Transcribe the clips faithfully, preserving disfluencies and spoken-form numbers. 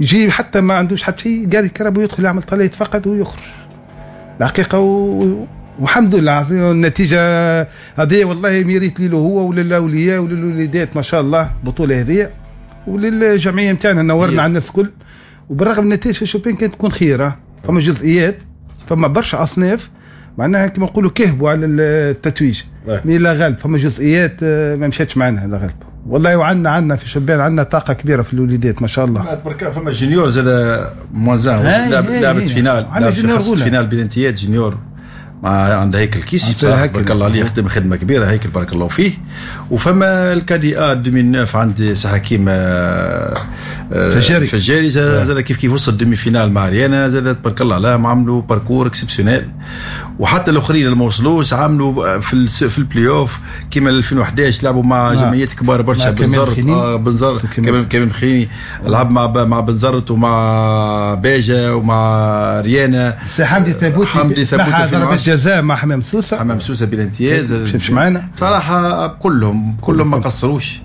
يجي حتى ما عندوش حتى شيء، قال الكرهبة ويدخل يعمل طلة يتفقد ويخرج الحقيقة. و... والحمد لله النتيجة هذه والله mérite له هو وللاولياء وللوليدات ما شاء الله البطولة هذه، وللجمعيه نتاعنا نورنا على الناس الكل. وبالرغم من النتائج في الشبان كانت تكون خيره، فما جزئيات، فما برشا اصناف معناها كما نقولوا كهبوا على التتويج، mais لا غالب فما جزئيات ما مشاتش معنا لا غالب والله. وعندنا عندنا في الشبان عندنا طاقة كبيرة في الوليدات ما شاء الله. فما junior زاد moins un لعبت finale، لعبت finale بلانتيات junior مع عند هيكل كيسي بارك الله عليه، يخدم خدمة كبيرة هيكل بارك الله فيه. وفما ال cadets A ألفين وتسعة عند سي حكيم فجاري فجاري زاد كيف كيف وصل demi-finale مع ريانا زاد تبارك الله عليهم، عملوا parcours exceptionnel. وحتى الاخرين اللي ما وصلوش عملوا في في البلاي اوف كيما ألفين وأحد عشر لعبوا مع جمعيات كبار برشا، بنزرت آه بنزرت كمال كمال خيني لعب مع مع بنزرت ومع باجه ومع ريانا. سي حمدي ثابوتي حمدي ثابوتي ضربة جزاء مع حمام سوسة، حمام سوسة بالامتياز مش معنا صراحة. كلهم كلهم ما قصروش،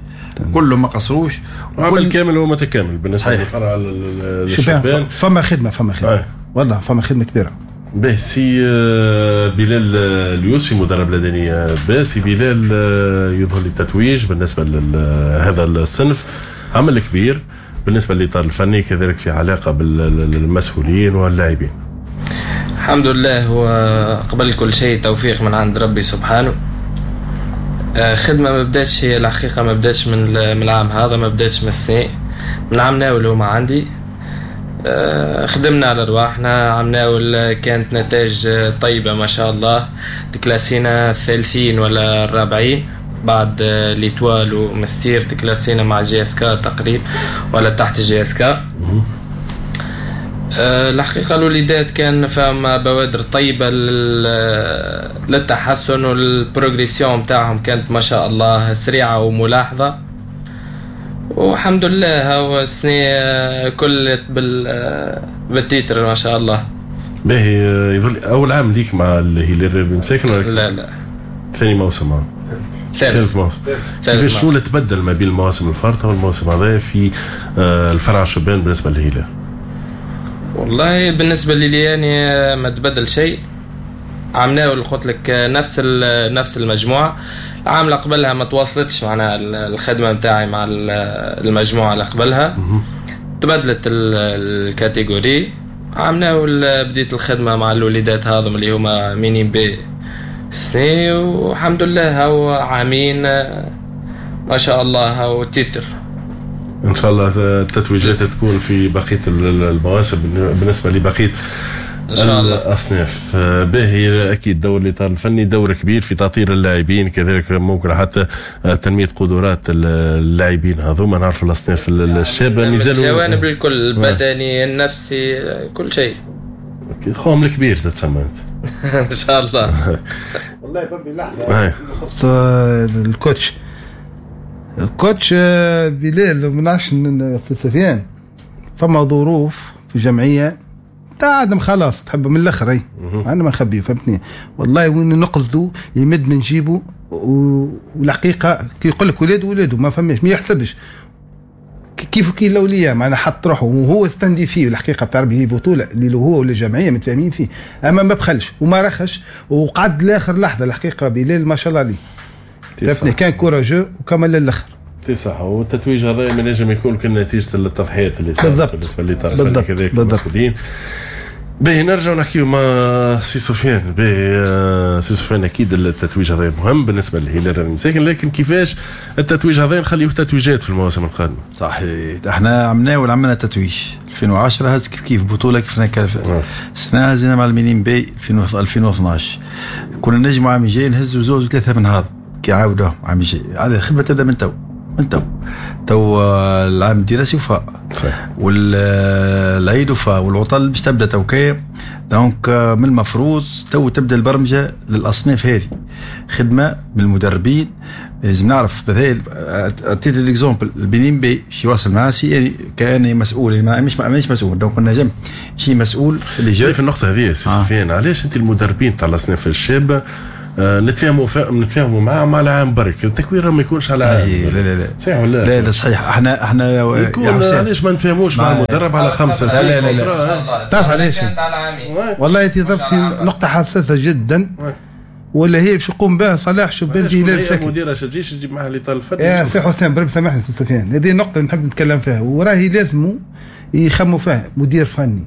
كلهم ما قصروش، عمل كامل ومتكامل بالنسبة للفرع للشبان. فما خدمة، فما خدمة آه. والله فما خدمة كبيرة. به سي بلال اليوسفي مدرب لدني، به سي بلال يظهر لي التتويج بالنسبة لهذا الصنف عمل كبير بالنسبة للاطار الفني، كذلك في علاقة بالمسؤولين واللاعبين. الحمد لله، هو قبل كل شيء توفيق من عند ربي سبحانه. خدمة ما بداتش هي الحقيقة، ما بداتش من العام هذا، ما بداتش من السنة، من عام ناول هما عندي. خدمنا على رواحنا، عام ناول كانت نتائج طيبة ما شاء الله، تكلاسينا الثالثين ولا الرابعين بعد l'Étoile ومستير، تكلاسينا مع JSK تقريب ولا تحت JSK. الحقيقة الوليدات كان فما بوادر طيبة للتحسن، وال progression متاعهم كانت ما شاء الله سريعة وملاحظة، والحمد لله هو السنة كل بال titre ما شاء الله. باهي، يظل أول عام ليك مع الهلال الرياضي مساكن ولا؟ لا لا، ثاني موسم. ثالث موسم. كيفاش شنو اللي تبدل ما بين المواسم الفارطة والموسم هذا في الفرع الشبان بالنسبة للهلال؟ والله بالنسبة لي يعني ما تبدل شيء. عملناه قلت لك نفس نفس المجموعة، العام اللي قبلها ما تواصلتش معنا الخدمة نتاعي مع المجموعة اللي قبلها، تبدلت ال catégorie. عملناه بديت الخدمة مع الوليدات هذم اللي هما minimes B سنة، والحمد لله هو عامين ما شاء الله هو titre. ان شاء الله التتويجات تكون في بقية المواسم بالنسبة لبقية ان شاء الله الاصناف. باهي، اكيد دور الاطار الفني دور كبير في تاطير اللاعبين، كذلك ممكن حتى تنمية قدرات اللاعبين هذوما. نعرف الاصناف الشابة مازالوا الجوانب الكل، البدني النفسي كل شيء. خوهم الكبير تتسمى انت. ان شاء الله. والله بربي لحظة يخص ال coach، ال coach بلال ما نعرفش سفيان، فما ظروف في الجمعية تاع عدم خلاص تحب من الاخر، اي انا ما نخبيه فهمتني. والله وين نقصدو يمد من جيبه، والحقيقة كي يقول لك ولاد ولاده ما فماش، ما يحسبش كيف كي الاولياء معنا حط روحه وهو استندي فيه. الحقيقة بتاع ربي هي بطوله اللي هو ولا الجمعية متفاهمين فيه، اما ما بخلش وما رخش وقعد لاخر لحظة. الحقيقة بلال ما شاء الله عليه فهمتني، كان courageux وكمل للاخر. صح، والتتويج هذا ما نجم يكون كان نتيجة التضحيات اللي صارت بالنسبة للاطار الفني كذلك المسؤولين. باهي، نرجع نحكيو مع سي سفيان. باهي سي سفيان، اكيد التتويج هذا مهم بالنسبة للهلال المساكن، لكن كيفاش التتويج هذا نخليه تتويجات في المواسم القادمة؟ صحيح، احنا عملنا عملنا تتويج ألفين وعشرة هز كيف كيف بطوله كيف السنة هزينا مع ال minimes B ألفين واثناش، كنا نجموا عام الجاي نهزوا زوج وثلاثة من هذا كي عاودوهم عام الجاي. على الخدمة تبدا من تو، من تو تو العام الدراسي وفاء والعيد وفاء والعطل باش تبدا توكيه، donc من المفروض تو تبدا البرمجة للاصناف هذه، خدمة من المدربين. لازم نعرف مثلا عطيت l'exemple ال minimes B شي واصل مع سي يعني كاني مسؤول، مش مش مسؤول، donc نجم شي مسؤول اللي جاي في النقطة هذه. سي سفيان، علاش انت المدربين تاع الاصناف الشابة آه نتفاهموا نتفاهموا معاه على عام برك، التكوين ما يكونش على عام. لا لا لا صحيح ولا لا؟ لا صحيح. احنا احنا يكون علاش ما نتفاهموش مع المدرب على خمسة سنين؟ لا لا لا تعرف علاش؟ والله تضرب في نقطة حساسة جدا ولا هي باش يقوم بها صلاح شبان بلال ساكن. المديرة تجيش تجيب معها الاطار الفني. يا سي حسين بربي سامحني سي سفيان، هذه النقطة نحب نتكلم فيها وراهي لازم يخموا فيها. مدير فني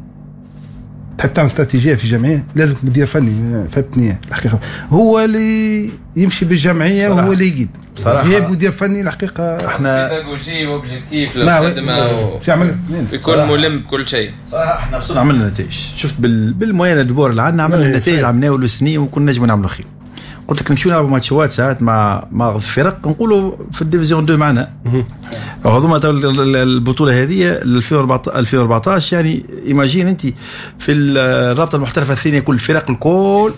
تحب تعمل استراتيجية في جمعية لازم مدير فني، فهمتني؟ الحقيقة هو اللي يمشي بالجمعيه وهو اللي يقيد. بصراحة غياب مدير فني الحقيقة احنا pédagogie و objectif للخدمة ويكون ملم بكل شيء. صراحة احنا وصلنا عملنا نتائج، شفت بال moyens de bord اللي عندنا عملنا نتائج عملناها السنين وكنا نجموا نعملوا خير. قلت لك نمشيو نلعبوا ماتشات ساعات مع مع الفرق نقولوا في ال division اثنين معنا. هذوما البطولة هذه ألفين وأربعطاش يعني imagine انت في الرابطة المحترفه الثانية كل الفرق الكل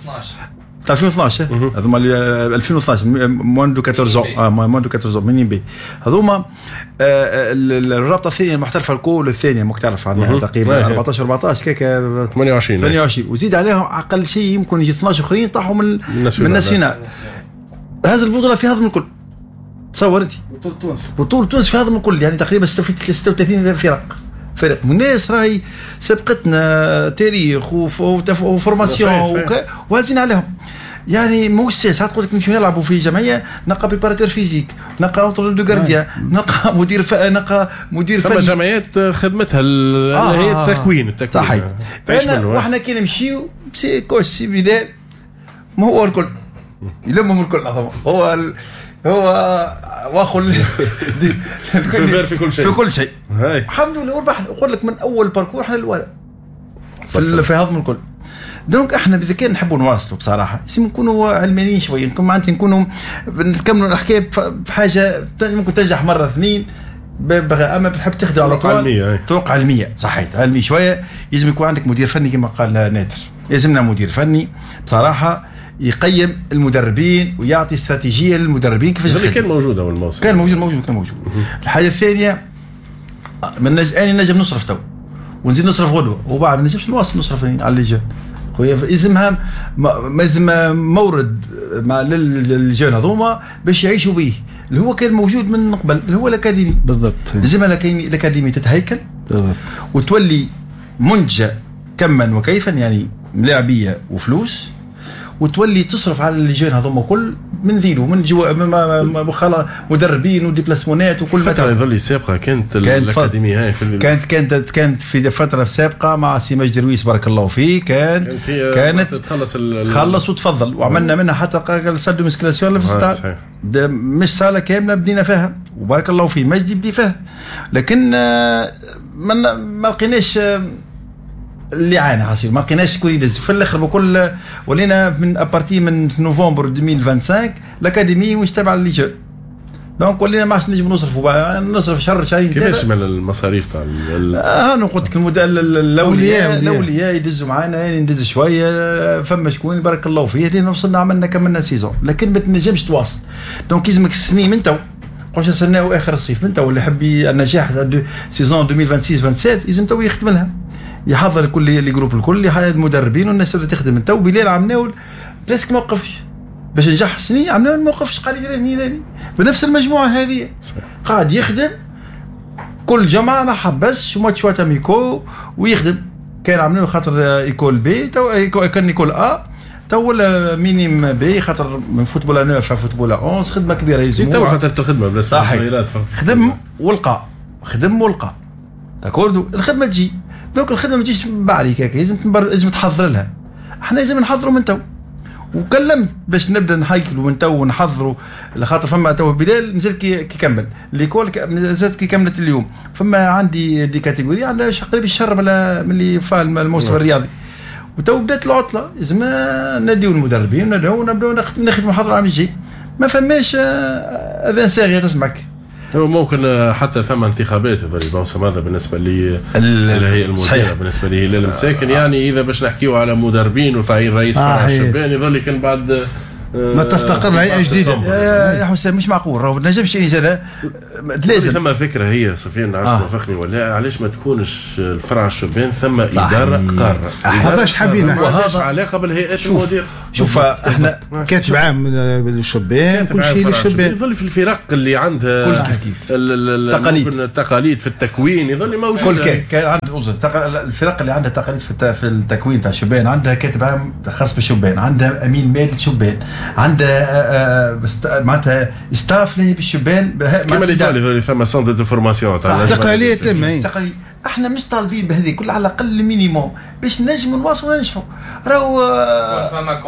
ألفين واثناش هذوما ألفين واثناش moins de أربعطاش اه moins de أربعطاش minimes B هذوما الرابطة الثانية المحترفه الكل الثانية ماك تعرف عنها تقريبا أربعطاش أربعطاش كيك ثمانية وعشرين ثمانية وعشرين وزيد عليهم اقل شيء يمكن يجي اثناش اخرين طاحوا من من ال national. هذه البطولة في هذا الكل تصور انت بطوله تونس بطوله تونس في هذا الكل يعني تقريبا ستة وثلاثين فرق فرق من الناس راهي سبقتنا تاريخ و formation وهزين عليهم. يعني موش ساعات تقول لك نمشيو نلعبوا في جمعية نلقى préparateur physique نلقى entraîneur de gardiens نلقى مدير ف... نلقى مدير فني. ثم جمعيات خدمتها آه هي التكوين التكوين صحيح. واحنا كي نمشيو سي coach سي بلال ما هو الكل يلمهم الكل هو ال... هو واخو الكل في كل شيء في كل شيء. الحمد لله وربحنا. نقول لك من اول parcours احنا الاولى في في هضم الكل. donc احنا اذا كان نحبوا نواصلوا بصراحة لازم نكونوا علمانيين شوية، نكون معناتها نكونوا نكملوا الحكاية بحاجة ممكن تنجح مرة اثنين اما بتحب تخدم على طول طرق علمية. صحيح علمي شوية. لازم يكون عندك مدير فني كما قال نادر، لازمنا مدير فني بصراحة يقيم المدربين ويعطي استراتيجية للمدربين كيفاش. اللي كان موجود اول الموسم كان موجود موجود كان موجود. الحاجة الثانية من نج... انا نجم نصرف تو ونزيد نصرف غدوه وبعد ما نجمش نواصل نصرف على les jeunes خويا. لازمها لازم مورد مع لل jeunes هذوما باش يعيشوا به اللي هو كان موجود من قبل اللي هو الاكاديمي. بالضبط لازم الاكاديمي تتهيكل بالضبط وتولي منتجه كما وكيفا يعني ملاعبيه وفلوس وتولي تصرف على les jeunes هذوما كل من ذيلو من جوا خلا مدربين و déplacement ات وكل ما. الفترة اللي سابقه كانت الاكاديمية هاي في كانت كانت كانت في فترة سابقه مع سي مجدي رويس بارك الله فيه كانت كانت, كانت تخلص تخلص وتفضل وعملنا منها حتى salle de musculation اللي في الستاد مش صاله كاملة بدينا فيها وبارك الله فيه مجدي بدي فيها، لكن ما ما لقيناش اللي عانى حصير ما لقيناش شكون يدز في الاخر بكل. ولينا من à partir من نوفمبر ألفين وخمسة وعشرين l'académie مش تابعه les jeunes donc ولينا ما عادش نجم نصرفوا نصرف شهر شهرين. كيفاش من المصاريف تاع اه انا قلت لك الاولياء الاولياء يدزوا معانا يعني ندز شوية فما شكون بارك الله فيه لين وصلنا عملنا كملنا saison لكن ما تنجمش تواصل. donc يلزمك السنين من تو قلت نستناو اخر الصيف من تو اللي يحب النجاح saison ألفين وستة وعشرين سبعة وعشرين لازم تو يخدم لها يحضر كل les groupes الكل المدربين والناس تبدا تخدم. تو بلال عمناول presque ما وقفش باش نجح سنين عمناول ما وقفش قال لي راني راني بنفس المجموعة هذه قاعد يخدم كل جمعه ما حبسش ماتشات amicaux ويخدم. كان عمناول خاطر école B تو كان école A تو ولا minimes B خاطر من football تسعة football أحد عشر خدمة كبيرة يلزم تو فترة الخدمة بالنسبة للصغيرات خدم ولقى خدم ولقى d'accord الخدمة تجي. donc الخدمة ما تجيش بعد هكاك لازم لازم تحضر لها. احنا لازم نحضروا من تو وكلمت باش نبدا نحيكلوا من تو ونحضروا لخاطر فما تو بلال مازال كي كمل l'école مازالت كي كملت اليوم فما عندي des catégories عندنا قريب الشهر من اللي فا الموسم الرياضي وتو بدات العطلة لازم ناديو المدربين ونبداو نخدموا نحضروا العام الجاي. ما فماش اذان صاغيه تسمعك. هو ممكن حتى ثم انتخابات هذا الموسم هذا بالنسبة لي الهيئة المديرة بالنسبة لي هلال المساكن يعني اذا باش نحكيو على مدربين وتعيين رئيس فرع الشبان يظل كان بعد ما تستقر هيئة جديدة. يا حسام مش معقول راهو ما نجمش يعني لازم ثم فكرة هي سفيان نعرفش آه. توافقني ولا علاش ما تكونش الفرع الشبان ثم ادارة قارة هذاش حابين وهذا علاقة بالهيئات المديرة. شوف احنا كاتب عام للشبان، كل شيء للشبان. يظل في الفرق اللي عندها كل كيف كيف التقاليد التقاليد في التكوين يظل موجود. كل كان كان عند الفرق اللي عندها تقاليد في في التكوين تاع الشبان، عندها كاتب عام خاص بالشبان، عندها امين مالي للشبان، عندها معناتها staff لاهي بالشبان. كما اللي ثم centre de formation تاع التقاليد. احنا مش طالبين بهذه كل، على الاقل minimum باش نجموا نواصلوا وننجحوا. راهو فما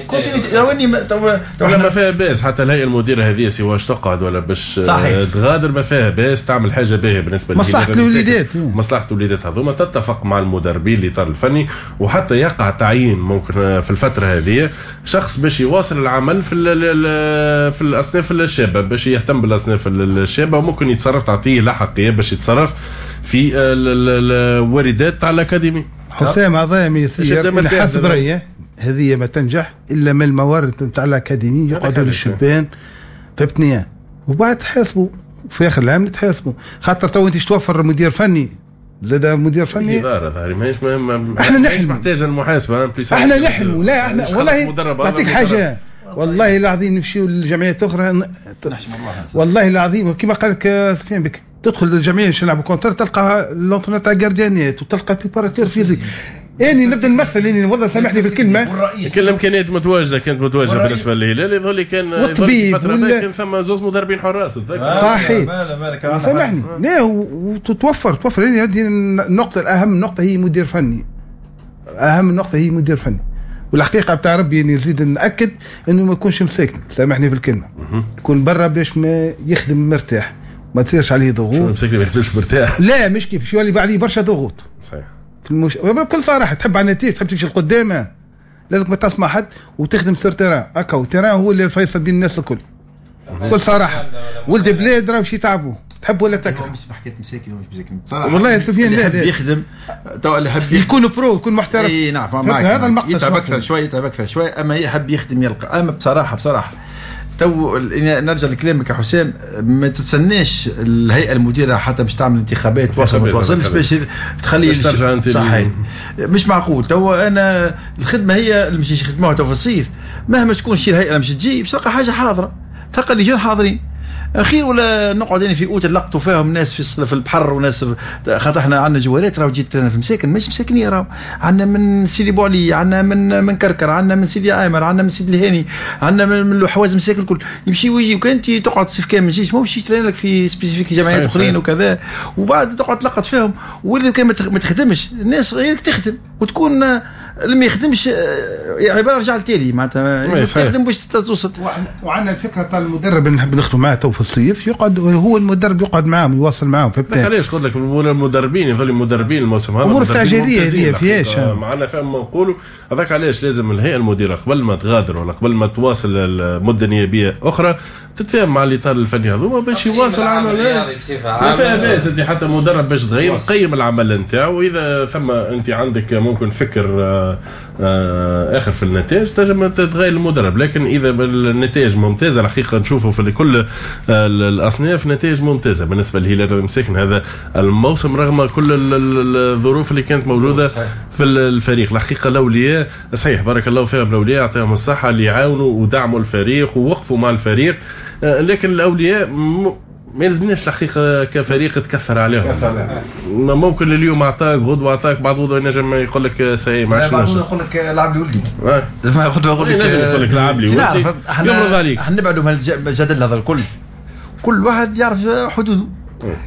continuité، راهو اني ولا ما فيها باس حتى الهيئة المديرة هذه سواء تقعد ولا باش تغادر، ما فيها باس تعمل حاجة باهيه بالنسبة مصلحة الوليدات. مصلحة الوليدات هذوما تتفق مع المدربين الاطار الفني، وحتى يقع تعيين ممكن في الفترة هذه شخص باش يواصل العمل في في الاصناف الشابة، باش يهتم بالاصناف الشابة، وممكن يتصرف تعطيه لاحقيه باش يتصرف في الواردات تاع الاكاديمي. حسام هذا ما يصير حسب رايي هذه ما تنجح الا من الموارد نتاع الاكاديمي يقعدوا للشبان، فهمتني؟ وبعد تحاسبوا في اخر العام تحاسبوا، خاطر تو انت توفر مدير فني زاد مدير فني ادارة ظهري ماهيش احنا نحلم محتاجه المحاسبة. احنا نحلموا. لا احنا والله نعطيك حاجة، والله العظيم نمشيو للجمعيات اخرى، والله العظيم كما قال لك سفيان بك، تدخل للجمعية باش نلعبوا contre تلقى l'entraîneur تاع gardien ات وتلقى préparateur physique. اني نبدا نمثل، اني والله سامحني في الكلمة، كل الامكانيات متواجدة كانت متواجدة بالنسبة للهلال. يظهر لي كان والطبيب ولا... كان ثم زوز مدربين حراس. صحيح سامحني، لا وتتوفر توفر. هذه النقطة الاهم نقطة هي مدير فني، اهم نقطة هي مدير فني. والحقيقة بتاع ربي اني نزيد ناكد انه ما يكونش مساكن، سامحني في الكلمة، يكون برا باش ما يخدم مرتاح، ما تصيرش عليه ضغوط. شو مساكن ما يخدمش مرتاح؟ لا مش كيف، شو اللي عليه برشا ضغوط. صحيح. في المش... بكل صراحة تحب على النتيجة، تحب تمشي لقدام، لازم ما تسمع حد وتخدم sur terrain. هكا terrain هو اللي الفيصل بين الناس الكل. بكل صراحة ولد بلاد راه باش يتعبوا، تحب ولا تكره. مش بحكاية مساكن ومش مساكن بصراحة. والله يا سفيان اللي يحب يخدم تو اللي يحب يكون pro، يكون محترف. اي نعم معك، هذا المقصد. يتعب اكثر شوية، يتعب اكثر شوية، اما يحب يخدم يلقى. اما بصراحة بصراحة تو نرجع لكلامك يا حسام، ما تتسناش الهيئة المديرة حتى باش تعمل انتخابات توصل ما توصلش باش تخلي صحيح. مش معقول تو انا الخدمة هي اللي مش يخدموها تو في الصيف، مهما تكون شي الهيئة مش تجي باش تلقى حاجة حاضره، تلقى اللجان حاضرين اخير. ولا نقعد يعني في اوت نلقطوا فيهم ناس في في البحر وناس، خاطر احنا عندنا جوارات راهو جيت في مساكن مش مساكنيه، راهو عندنا من سيدي بوعلي، عندنا من من كركر، عندنا من سيدي عامر، عندنا من سيدي الهاني، عندنا من الحواز مساكن الكل يمشي ويجي. وكان انت تقعد صيف كامل ما تجيش، ماهوش يترين لك في spécifique جمعيات اخرين وكذا، وبعد تقعد تلقط فيهم. واللي كان ما تخدمش الناس غيرك تخدم، وتكون اللي ما يخدمش عبارة رجع لتالي معناتها تخدم باش توصل. وعندنا الفكرة تاع المدرب اللي نحب نخدم معاه تو في الصيف، يقعد هو المدرب يقعد معاهم يواصل معاهم. علاش قلت لك المدربين يظل المدربين الموسم هذا امور استعجاليه هذه فيهاش معنا فهم ما نقولوا. هذاك علاش لازم الهيئة المديرة قبل ما تغادر ولا قبل ما تواصل المدة النيابية اخرى تتفاهم مع الاطار الفني هذوما باش يواصل عمل. ما فيها باس انت حتى مدرب باش تغير قيم العمل نتاعو، واذا ثم انت عندك ممكن فكر اخر في النتائج تنجم تغير المدرب. لكن اذا النتائج ممتازة الحقيقة نشوفوا في كل الاصناف نتائج ممتازة بالنسبة للهلال المساكن هذا الموسم رغم كل الظروف اللي كانت موجودة في الفريق. الحقيقة الاولياء صحيح بارك الله فيهم، الاولياء يعطيهم الصحة اللي عاونوا ودعموا الفريق ووقفوا مع الفريق، لكن الاولياء ما يلزمناش الحقيقة كفريق تكثر عليهم. ممكن اليوم اعطاك غدوه اعطاك بعد غدوه ينجم يقول لك سي ما عادش نجم يقول لك لعب لي ولدي، غدوه يقول لك يقول لك لعب لي ولدي، يمرض عليك. احنا نبعدوا من الجدل هذا الكل، كل واحد يعرف حدوده،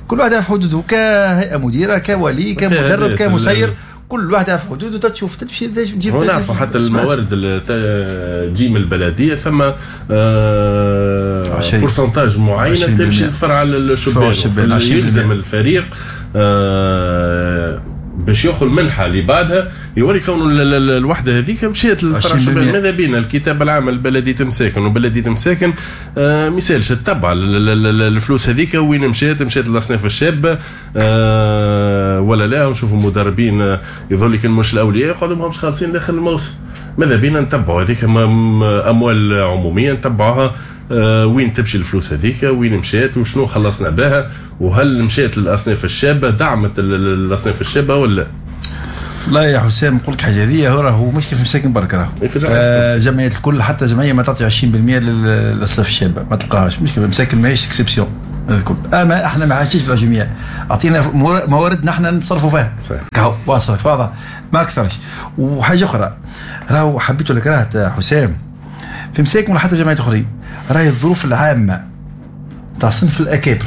كل واحد يعرف حدوده كهيئة مديره كولي كمدرب كمسير، كل واحد يعرف حدوده. تشوف تمشي تجيب. نعرفوا حتى الموارد اللي تجي من البلدية ثم آه pourcentage معينة تمشي لفرع الشبان، يلزم الفريق آه باش ياخذ المنحة اللي بعدها يوري كون الوحدة هذيك مشات للفرع الشبان. ماذا بينا الكتاب العام البلدي تمساكن وبلدي تمساكن آه ما يسالش تتبع الفلوس هذيك وين مشات، مشات للاصناف الشابة آه ولا لا. نشوفوا مدربين يظل لك مش الاولياء يقعدوا ماهمش خالصين لاخر الموسم. ماذا بينا نتبعوا هذيك اموال عموميه نتبعوها آه وين تمشي الفلوس هذيك، وين مشات وشنو خلصنا بها، وهل مشات للاصناف الشابة، دعمت الاصناف الشابة ولا. لا يا حسام نقول لك حاجة، هذه راهو مش كيف مساكن برك، راهو آه جمعيات الكل، حتى جمعية ما تعطي عشرين بالمية للصف الشابة ما تلقاهاش، مش كيف مساكن ماهيش exception الكل. اما احنا ما عادش بالعشرين، اعطينا مواردنا احنا نتصرفوا فيها صحيح، كهو واصل واضح ما اكثرش. وحاجه اخرى راهو حبيت ولا كرهت حسام، في مساكن ولا حتى جمعيات اخرين راهي الظروف العامة تاع صنف الاكابر،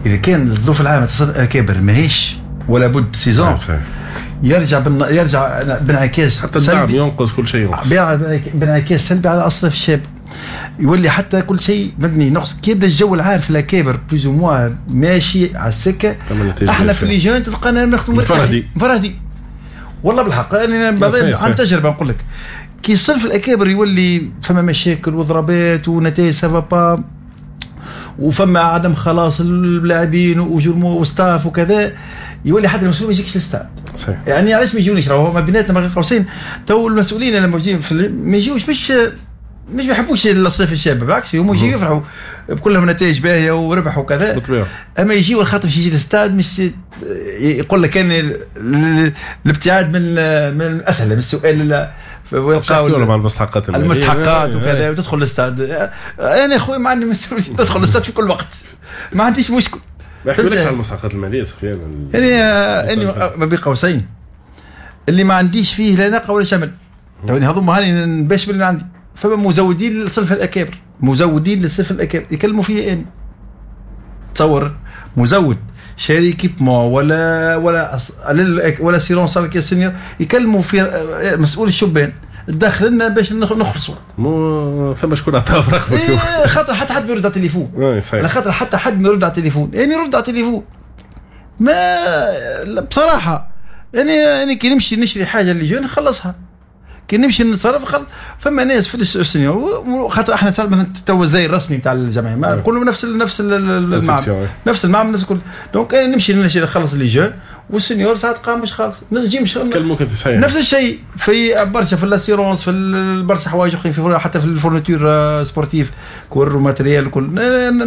اذا كان الظروف العامة تاع صنف الاكابر ماهيش ولا بد saison يرجع بن... يرجع بانعكاس حتى الدعم ينقص، كل شيء ينقص بانعكاس سلبي على اصناف الشاب، يولي حتى كل شيء مبني نقص. كي يبدا الجو العام في الاكابر plus ou moins ماشي على السكة، احنا في les jeunes تلقانا نخدموا مفردي مفردي والله بالحق. انا عن تجربه نقول لك، كي صنف الاكابر يولي فما مشاكل وضربات ونتائج ça va pas، وفما عدم خلاص اللاعبين وجرمو و staff وكذا، يولي حتى المسؤول ما يجيكش للستاد. صحيح. يعني علاش ما يجونيش؟ راهو ما بيناتنا ما قوسين تو المسؤولين اللي موجودين في ما يجيوش، مش مش ما يحبوش الاصناف الشابة، بالعكس هم يجيو يفرحوا بكلهم نتائج باهيه وربح وكذا. بالطبيعة. اما يجيو الخاطر باش يجي للستاد مش يقول لك كان الابتعاد من من الاسئلة من السؤال ويلقاو مع المستحقات المستحقات وكذا وتدخل للستاد. انا خويا ما عندي مسؤولية ندخل للستاد في كل وقت، ما عنديش مشكل. ما يحكولكش على المستحقات المالية سفيان؟ يعني انا ما بين قوسين اللي ما عنديش فيه لا ناقة ولا شمل، يعني هذوما هاني نباش باللي عندي. فما مزودين لصنف الاكابر، مزودين لصنف الاكابر يكلموا فيا انا، تصور مزود شاري équipement ولا ولا ولا assurance على senior، يكلموا في مسؤول الشبان داخل لنا باش نخلصوا. مو ثم شكون عطاه رقمك؟ إيه خاطر حتى حد ما يرد على التليفون. على خاطر حتى حد ما يرد على التليفون، يعني يرد على التليفون ما بصراحة. يعني يعني كي نمشي نشري حاجة les jeunes نخلصها، كي نمشي نتصرف خلص. فما ناس في ال senior خاطر احنا ساعات مثلا تو الزي الرسمي نتاع الجمعية ما نقولوا نفس ال نفس المعمل نفس المعمل نفس كل، donc انا نمشي نخلص les jeunes وال senior ساعات قام مش خالص نجي مش كلموك انت صحيح. نفس الشيء في برشا في l'assurance في برشا حوايج اخرين، في حتى في ال fournitures sportives كور و matériel كل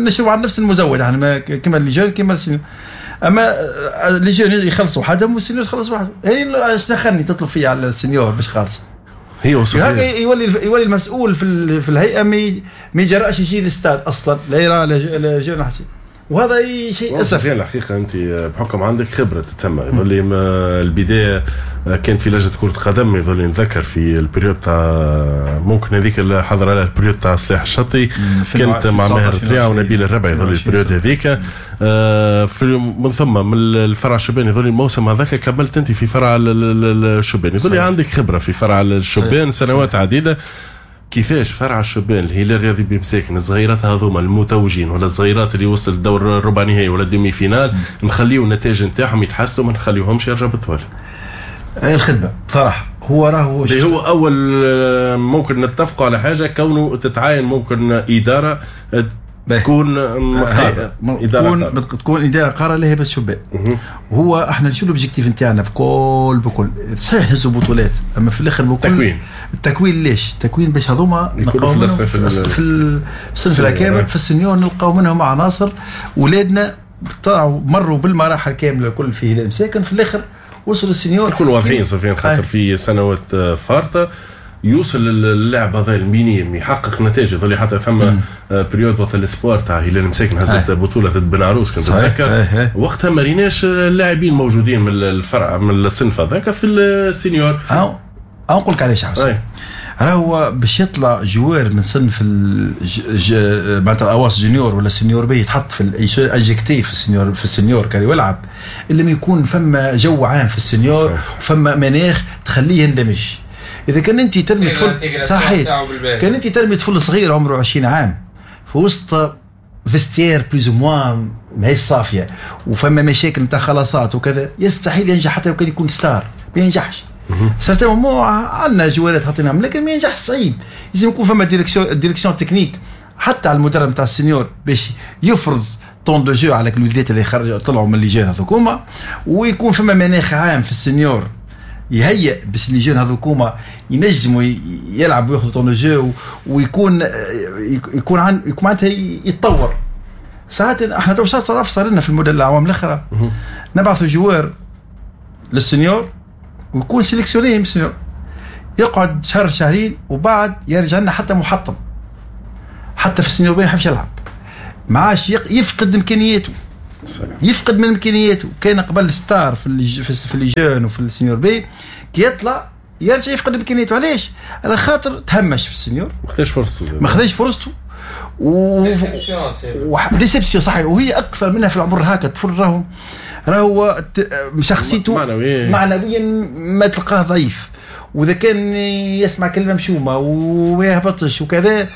نشرو على نفس المزود احنا كيما les jeunes كيما ال senior. اما les jeunes يخلصوا وحدهم وال senior يخلص وحده. يعني اش دخلني تطلب فيا على ال senior باش خالص؟ هي وصفية. يولي يولي المسؤول في في الهيئة ما يجرأش يجي للاستاد اصلا، لا يرى لا jeune حتى، وهذا شيء اسف. الحقيقة انت بحكم عندك خبره تتسمى، يظل البداية كانت في لجنة كره قدم، يظل نذكر في ال période تاع ممكن هذيك اللي حضر عليها ال période تاع سلاح الشطي، كانت مع ماهر تريع ونبيل الربع، يظل ال période هذيك. في من ثم من الفرع الشباني يظل الموسم هذاك كملت انت في فرع الشباني، يظل عندك خبره في فرع الشبان سنوات عديدة. كيفاش فرع الشبان الهلال الرياضي بمساكن الصغيرات هذوما المتوجين ولا الصغيرات اللي وصلت للدور الربع نهائي ولا ال demi-finale نخليو النتائج نتاعهم يتحسنوا ما نخليوهمش يرجعوا بالتوالي؟ الخدمة بصراحة هو راهو اللي هو اول ممكن نتفقوا على حاجة، كونه تتعاين ممكن ادارة تكون قارة. إدارة تكون تكون ادارة قارة لها بس شبان. وهو احنا شو l'objectif نتاعنا في كل بكل صحيح نهزوا بطولات، اما في الاخر بكل تكوين. التكوين ليش؟ التكوين باش هذوما نلقاو في في الصنف الاكابر في ال senior نلقاو منهم عناصر ولادنا طلعوا مروا بالمراحل كاملة الكل في هلال مساكن، في الاخر وصلوا ال senior. نكونوا واضحين سفيان، خاطر في سنوات فارطه يوصل اللاعب هذا ال minime يحقق نتائج، يظل حتى فما période وقت ال espoirs تاع هلال مساكن هزت بطوله ضد بن عروس كنت تتذكر، وقتها ما ريناش اللاعبين موجودين من الفرع من الصنف هذاك في ال senior. أو نقول لك علاش حسين، راهو باش يطلع joueur من صنف الج... معناتها الاواس junior ولا senior B يتحط في injecté في ال senior في ال senior كان يلعب، الا ما يكون فما جو عام في ال senior، فما مناخ تخليه يندمج. اذا كان انت ترمي طفل صحيح، كان انت ترمي طفل صغير عمره عشرين عام في وسط vestiaire plus ou moins ماهيش صافية وفما مشاكل نتاع خلاصات وكذا، يستحيل ينجح حتى لو كان يكون star ما ينجحش. certainement عندنا جوارات حاطينهم لكن ما ينجحش، صعيب. لازم يكون فما direction direction technique حتى على المدرب نتاع ال senior باش يفرض ton de jeu على الوليدات اللي خرجوا طلعوا من les jeunes هذوكوما، ويكون فما مناخ عام في ال senior يهيئ باش les jeunes هذوكوما ينجموا يلعبوا وياخذوا ton de jeu ويكون يكون عن يكون معناتها يتطور. ساعات احنا تو صار صار لنا في المدة العوام الاخرى نبعثوا joueur لل senior ويكون sélectionné من ال senior، يقعد شهر شهرين وبعد يرجع لنا حتى محطم، حتى في ال senior B ما يحبش يلعب، ما عادش يفقد امكانياته. صحيح. يفقد من امكانياته. كان قبل star في ال في les jeunes وفي ال senior B، كي يطلع يرجع يفقد امكانياته. علاش؟ على خاطر تهمش في ال senior، ما خذاش فرصته، ما خذاش فرصته و déception. صحيح، وهي اكثر منها في العمر هكا. الطفل راهو راهو شخصيته معنويا معنويا ما تلقاه ضعيف، واذا كان يسمع كلمة مشومه وما يهبطش وكذا،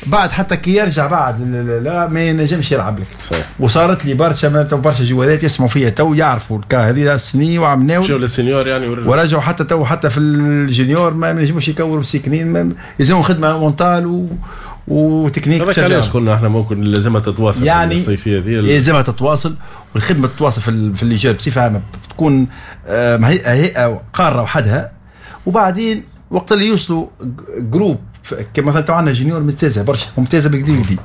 بعد حتى كي يرجع بعد لا ما ينجمش يلعب لك. صحيح. وصارت لي برشا برشا جوالات يسمعوا فيها تو يعرفوا ال cas هذه السنين وعملناو مشاو لل senior يعني ورجعوا حتى تو حتى في ال junior ما ينجموش يكوروا مسكنين، يلزمهم خدمة mentale و وتكنيك. هذاك علاش قلنا احنا ممكن لازمها تتواصل يعني الصيفية هذه، لازمها تتواصل، والخدمة تتواصل في في les jeunes بصفة عامة، تكون هيئة قارة وحدها. وبعدين وقت اللي يوصلوا groupe كما مثلا عندنا junior ممتازة برشا، ممتازة بالكدا بالكدا،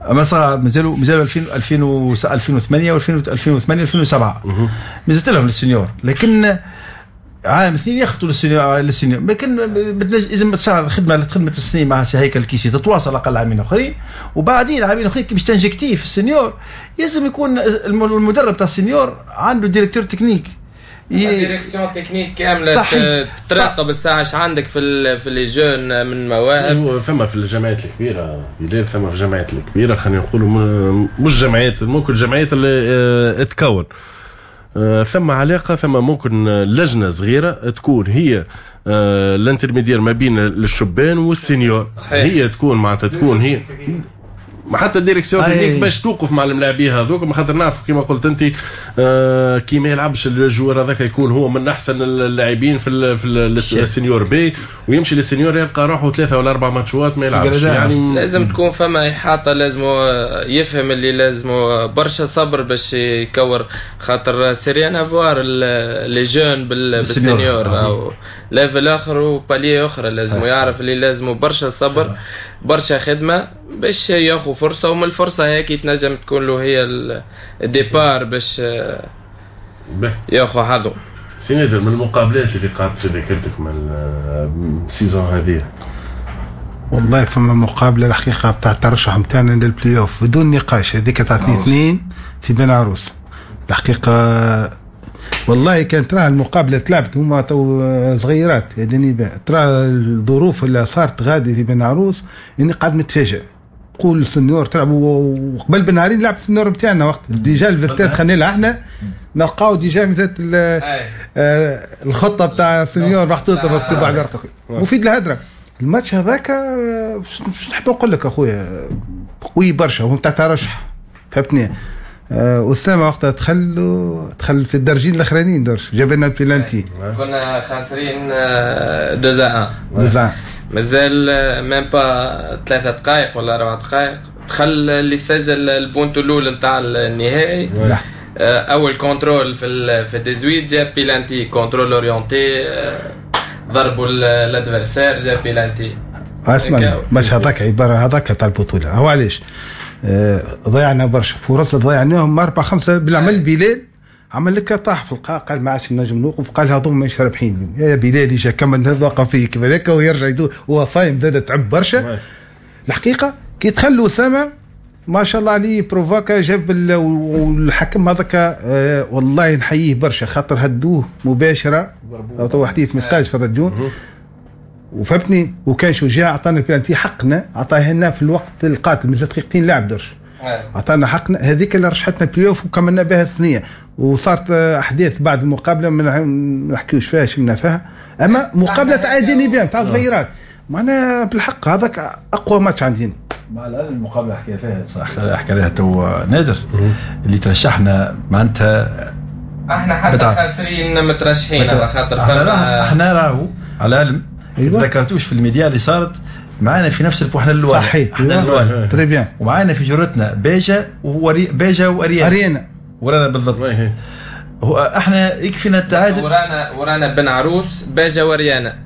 مثلا مازالوا مازالوا ألفين وثمانية و ألفين وثمانية ألفين وسبعة مازالت لهم لل senior، لكن عام اثنين ياخذوا لل senior لل senior لكن لازم تصير خدمة خدمة السنين مع سي هيكل الكيسي تتواصل اقل عامين اخرين، وبعدين عامين اخرين كي باش تنجكتيه في ال senior لازم يكون المدرب تاع ال senior عنده directeur technique، direction technique كاملة تراقب الساعة اش عندك في في les jeunes من مواهب. ثم في الجامعات الكبيرة بلال، ثم في الجامعات الكبيرة خلينا نقولوا مش جمعيات، ممكن الجمعيات اللي تكون ثم علاقة، ثم ممكن لجنة صغيرة تكون هي ال intermédiaire ما بين الشبان وال senior. صحيح. هي تكون معناتها تكون هي حتى ال direction technique باش توقف مع الملاعبيه هذوك، خاطر نعرفوا كيما قلت انت آه كي ما يلعبش ال joueur هذاك يكون هو من احسن اللاعبين في في ال senior B، ويمشي لل senior يلقى روحه ثلاثة ولا اربع ماتشات ما يلعبش. يعني لازم تكون فما احاطة، لازم يفهم اللي لازم برشا صبر باش يكور، خاطر c'est rien à voir les jeunes بال senior او level اخر و palier اخرى، لازم يعرف اللي لازم برشا صبر برشا خدمة باش ياخذ فرصة، ومن الفرصة هيك تنجم تكون له هي ال départ باش ياخذ حظه. سي نادر، من المقابلات اللي قعدت في ذاكرتك من ال saison هذه؟ والله فما مقابله الحقيقة بتاع الترشح نتاعنا للبلاي اوف بدون نقاش، هذيك تاع اثنين اثنين في بن عروس. الحقيقة والله كانت ترى المقابلة تلعبت هما تو صغيرات يعني، ترى الظروف اللي صارت غادي في بن عروس اني قاعد متفاجئ. قول ال senior تلعبوا وقبل بنهارين لعب ال senior نتاعنا وقت déjà ال vestiaire دخلنا لها احنا نلقاو déjà مثل آه الخطة بتاع ال senior محطوطة مكتوبة على الورقة مفيد الهدرة. الماتش هذاك باش نحب نقول لك اخويا قوي برشا وهو نتاع ترشح فهمتني. أسامة وقتها دخل دخل في الدرجين الاخرانيين درش جاب لنا البلانتي، كنا خاسرين deux à un deux à un مازال même pas ثلاثة دقائق ولا أربع دقائق دخل اللي سجل البونتو الأول نتاع النهائي. أول contrôle في في dix-huit جاب penalty، contrôle orienté ضربوا ال adversaire جاب بيلانتي. اسمع مش هذاك عبارة هذاك تاع البطولة. هو علاش ضيعنا برشا فرص، ضيعناهم أربعة خمسة بالعمل. بلال عمل لك طاح في القاع قال ما عادش نجم نوقف، قال هذوما مش رابحين يا بلال يجا كمل هذا وقف فيه كيف هذاك ويرجع يدور هو صايم زاد تعب برشا. الحقيقة كي دخل اسامة ما شاء الله عليه provoqua جاب والحكم هذاك آه والله نحييه برشا خاطر هدوه مباشرة تو حديث ما في الراديو وفهمتني، وكان شجاع عطانا البلانتي حقنا عطاه لنا في الوقت القاتل مازال دقيقتين لعب درش عطانا حقنا هذيك اللي رشحتنا بلاي اوف وكملنا بها الثنية. وصارت احداث بعد المقابلة ما نحكيوش فيها شمنا فيها، اما مقابله تاع ديني بيان تاع صغيرات معناها بالحق هذاك اقوى ماتش عندنا. مع العلم المقابلة حكى فيها صح حكى عليها تو نادر اللي ترشحنا معناتها احنا حتى خاسرين مترشحين على خاطر احنا احنا راهو على العلم أيوة. ذكرتوش في الميديا اللي صارت معانا في نفس البو احنا الاول صحيح احنا الاول très bien، ومعانا في جرتنا باجا ووري باجا واريانا اريانا ورانا بالضبط. هو احنا يكفينا التعادل ورانا ورانا بن عروس باجا واريانا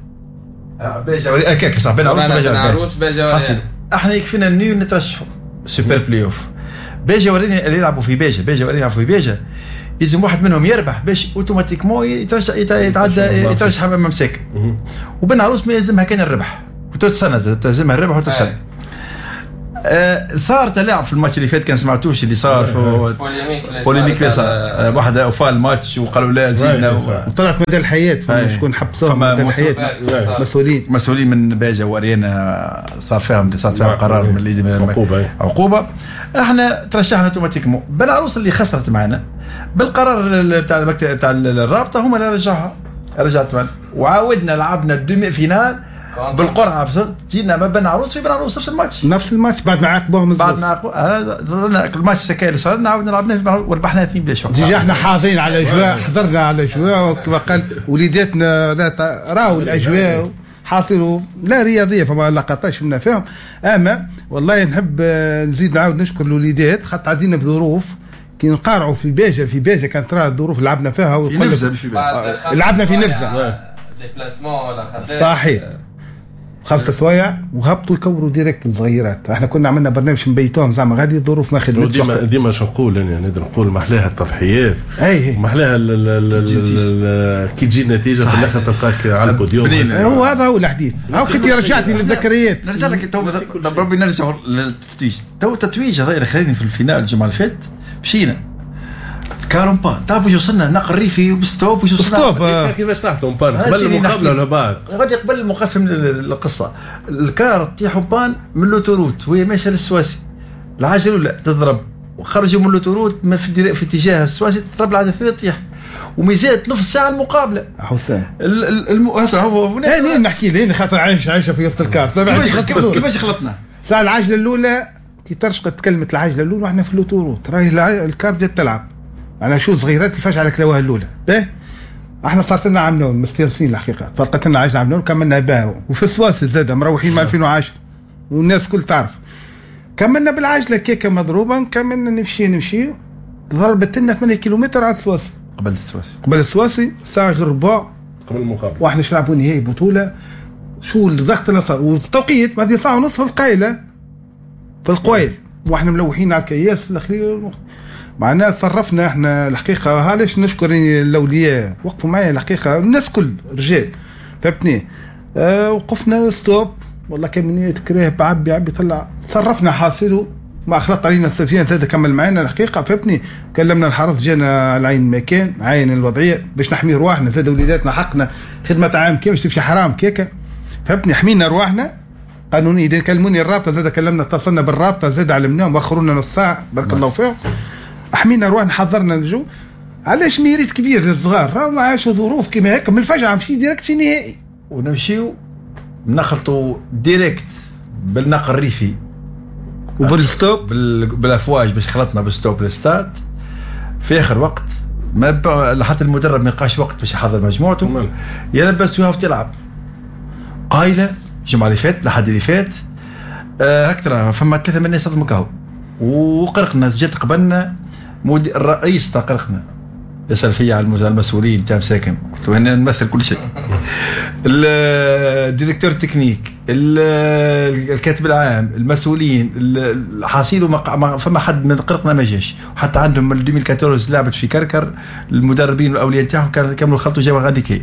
باجا واريانا هكاك صح بن عروس باجا بن عروس باجا واريانا. احنا يكفينا ال nul نترشحوا super play-off. باجا ورينا اللي يلعبوا في باجا، باجا ورينا يلعبوا في باجا، يلزم واحد منهم يربح باش automatiquement يترشح يتعدى يترشح امام مساكن. وبن عروس ما يلزمها كان الربح وتتسنى تلزمها الربح وتتسنى. آه صار تلاعب في الماتش اللي فات، كان سمعتوش اللي صار في polémique اللي صار، واحد اوفى الماتش وقالوا لا زيدنا وطلعت مدى الحياة، فما شكون حبسوهم مدى الحياة، مسؤولين مسؤولين من باجا واريانا صار فيهم صار فيهم قرار من اللي عقوبه عقوبه. احنا ترشحنا automatiquement. بن عروس اللي خسرت معنا بالقرار بتاع المكتب بتاع الرابطة هما اللي رجعها، رجعت معنا وعاودنا لعبنا ال demi-finale بالقرعة، جينا ما بين عروس في بن عروس نفس الماتش نفس الماتش بعد ما عاقبوهم بعد ما عاقبوهم الماتش السكاي اللي صار لنا عاودنا لعبناه في بن عروس وربحنا اثنين بلاش. déjà احنا حاضرين على الاجواء، حضرنا على الاجواء وكما قال وليداتنا راهو الاجواء حاصلوا لا رياضية فما لقطات شفنا فيهم. اما والله نحب نزيد نعاود نشكر الوليدات خاطر عدينا بظروف كي نقارعوا في باجه، في باجه كانت ترى الظروف لعبنا فيها في نفزه في باجه لعبنا في نفزه déplacement ولا خدام صحيح خمسة سوايع وهبطوا يكوروا direct الصغيرات. احنا كنا عملنا برنامج نبيتوهم زعما غادي الظروف ما خدمتش. ديما ديما شو نقول انا نقدر نقول محلاها التضحيات، محلاها كي تجي النتيجة في الاخر تلقاك على البوديوم. هو هذا هو الحديث، هاو كنت رجعتني للذكريات. نرجع لك تو ربي نرجع للتتويج. تو التتويج هذا اللي خلاني في ال finale الجمعة اللي فاتت مشينا car en panne، تعرفوا وصلنا نقل ريفي وب stop وصلنا stop. كيفاش طاحتوا en panne قبل المقابلة ولا بعد؟ غادي قبل المقفم القصة، ال car تطيح en panne من l'autoroute وهي ماشية للسواسي، العجلة الاولى تضرب وخرجوا من l'autoroute في, في اتجاه السواسي تضرب العجلة الثانية تطيح، ومازالت نص ساعة المقابلة. حسام الم... هو انا نحكي لي خاطر عايش عايشه في وسط ال car. كيفاش خلطنا؟ ساعة العجلة الاولى كي ترشقت كلمة العجلة الاولى واحنا في l'autoroute راهي ال car بدات تلعب. انا شو صغيرات كيفاش على كلاوها الاولى باه احنا صارت لنا عام نول مستانسين الحقيقة، فرقت لنا عجله عام نول كملنا بها، وفي السواسي زاد مروحين من ألفين وعشرة والناس كل تعرف. كملنا بالعجله كيكة مضروبة، كملنا نمشي نمشي ضربت لنا ثمانية كيلومتر على السواسي قبل السواسي قبل السواسي ساعة غير ربع قبل المقابلة، واحنا نلعبوا نهائي بطوله. شو الضغط اللي صار والتوقيت بعد ساعة ونص في القايله في القويل واحنا ملوحين على الكياس في الاخير. معناها تصرفنا احنا الحقيقة، علاش نشكر الاولياء وقفوا معايا الحقيقة، الناس كل رجال فهمتني. اه وقفنا stop والله كان كراه بعبي عبي طلع تصرفنا حاصله ما خلط علينا السفيان زاد كمل معنا الحقيقة فهمتني. كلمنا الحرس جانا على عين المكان عين الوضعية باش نحمي رواحنا زاد وليداتنا حقنا خدمة عام كي باش تمشي حرام كيكة فهمتني. حمينا رواحنا قانوني. اذا كلموني الرابطة زاد كلمنا اتصلنا بالرابطه زاد علمناهم واخرونا نص ساعة بارك الله فيهم. حمينا رواحنا حضرنا الجو. علاش mérite كبير للصغار راهم عاشوا ظروف كيما هكا من الفجعه نمشي direct في نهائي ونمشيو نخلطوا direct بالنقل الريفي وبال stop بالافواج باش خلطنا بال stop لل stade في اخر وقت ما حتى المدرب ما يلقاش وقت باش يحضر مجموعته يلبس ويهف تلعب قايله الجمعة اللي فات لحد اللي فات آه هكذا فما ثلاثة من الناس صدموا كهو وقرقنا جات قبلنا مدير الرئيس تاع قرقنا يسال فيا على المسؤولين تاع مساكن قلت له انا نمثل كل شيء ال directeur technique الكاتب العام المسؤولين الحاصيل ما فما حد من قرقنا ما جاش. حتى عندهم من ألفين وأربعطاش لعبت في كركر المدربين والاولياء تاعهم كاملوا خلطوا جاوا غادي كي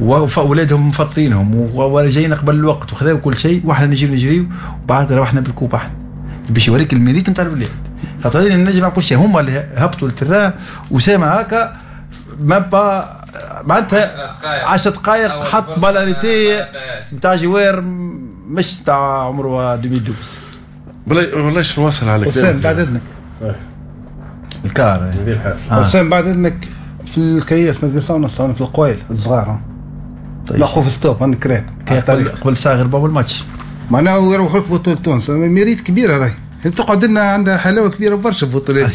واولادهم مفطرينهم ولا جايين قبل الوقت وخذاو كل شيء واحنا نجيو نجريو وبعد روحنا بال coupe احنا باش يوريك ال mérite نتاع الولاد خاطر النجم كل شيء هما اللي هبطوا لل terrain. وسامة هكا ما با معناتها عشر دقائق حط balle arrêtée نتاع joueur مش تاع عمره ألفين واثنين. والله والله شنو نواصل على كلامك بعد اذنك ال car حسام بعد اذنك في الكياس ما ونص في القوايل الصغار لقوا في stop انا كرهت قبل ساعة غير باب الماتش معناها يروحوا لك بطوله تونس mérite كبيرة راهي تقعد لنا عندها حلاوة كبيرة برشا البطولات.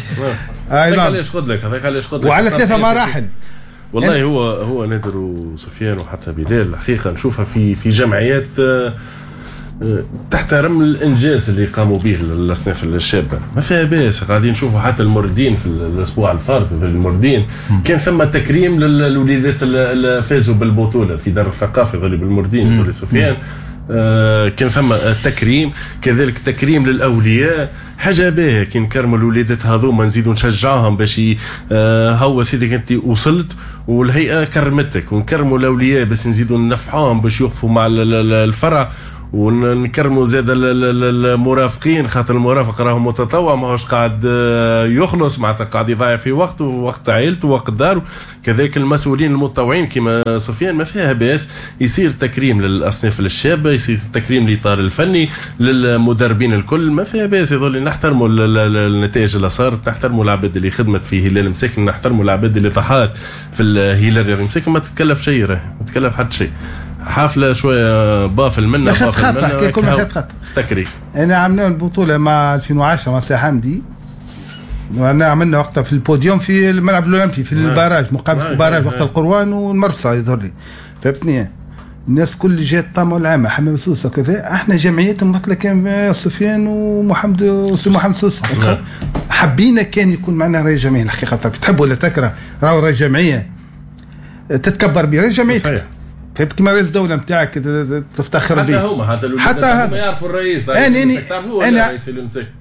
هذاك علاش خذ لك هذاك علاش خذ لك وعلى ثلاثة مراحل. والله هو هو نادر وسفيان وحتى بلال الحقيقة نشوفها في في جمعيات تحترم الانجاز اللي قاموا به الاصناف الشابة، ما فيها باس. قاعدين نشوفوا حتى المردين في الاسبوع الفارط في المردين كان ثم تكريم للوليدات اللي فازوا بالبطولة في دار الثقافة غالب المردين في سفيان، آه كان ثم تكريم، كذلك تكريم للاولياء، حاجة باهيه كي نكرموا الوليدات هذوما نزيدوا نشجعهم باش آه هو سيدك انت وصلت والهيئة كرمتك، ونكرموا الاولياء باش نزيدوا ننفعوهم باش يوقفوا مع الفرع، ونكرموا زاد المرافقين خاطر المرافق راهو متطوع ماهوش قاعد يخلص، معناتها قاعد يضيع في وقته ووقت عائلته ووقت داره. كذلك المسؤولين المتطوعين كما سفيان ما فيها باس يصير تكريم للاصناف الشابة، يصير تكريم للاطار الفني للمدربين الكل، ما فيها باس. يظل نحترموا النتائج اللي صارت، نحترموا العباد اللي خدمت في هلال مساكن، نحترموا العباد اللي ضحات في الهلال المساكن، ما تتكلف شيء، ما تتكلف حتى شيء. حفلة شوية بافل منا بافل منا كل ما خط تكريم. انا عملنا البطولة مع ألفين وعشرة مع سي حمدي، انا عملنا وقتها في البوديوم في الملعب الاولمبي في ال barrage، مقابله ال barrage وقت القروان والمرسى يظهر لي، فهمتني؟ الناس كل جات طاموا العامة حمام سوسة كذا، احنا جمعيات ممثلة كان سفيان ومحمد وسي محمد سوسة، حبينا كان يكون معنا رئيس جمعية. الحقيقة تحب ولا تكره راهو رئيس جمعية تتكبر به رئيس جمعيتك، فهمت؟ كيما رئيس الدولة نتاعك تفتخر به. حتى هما حتى حتى هما يعرفوا الرئيس. انا انا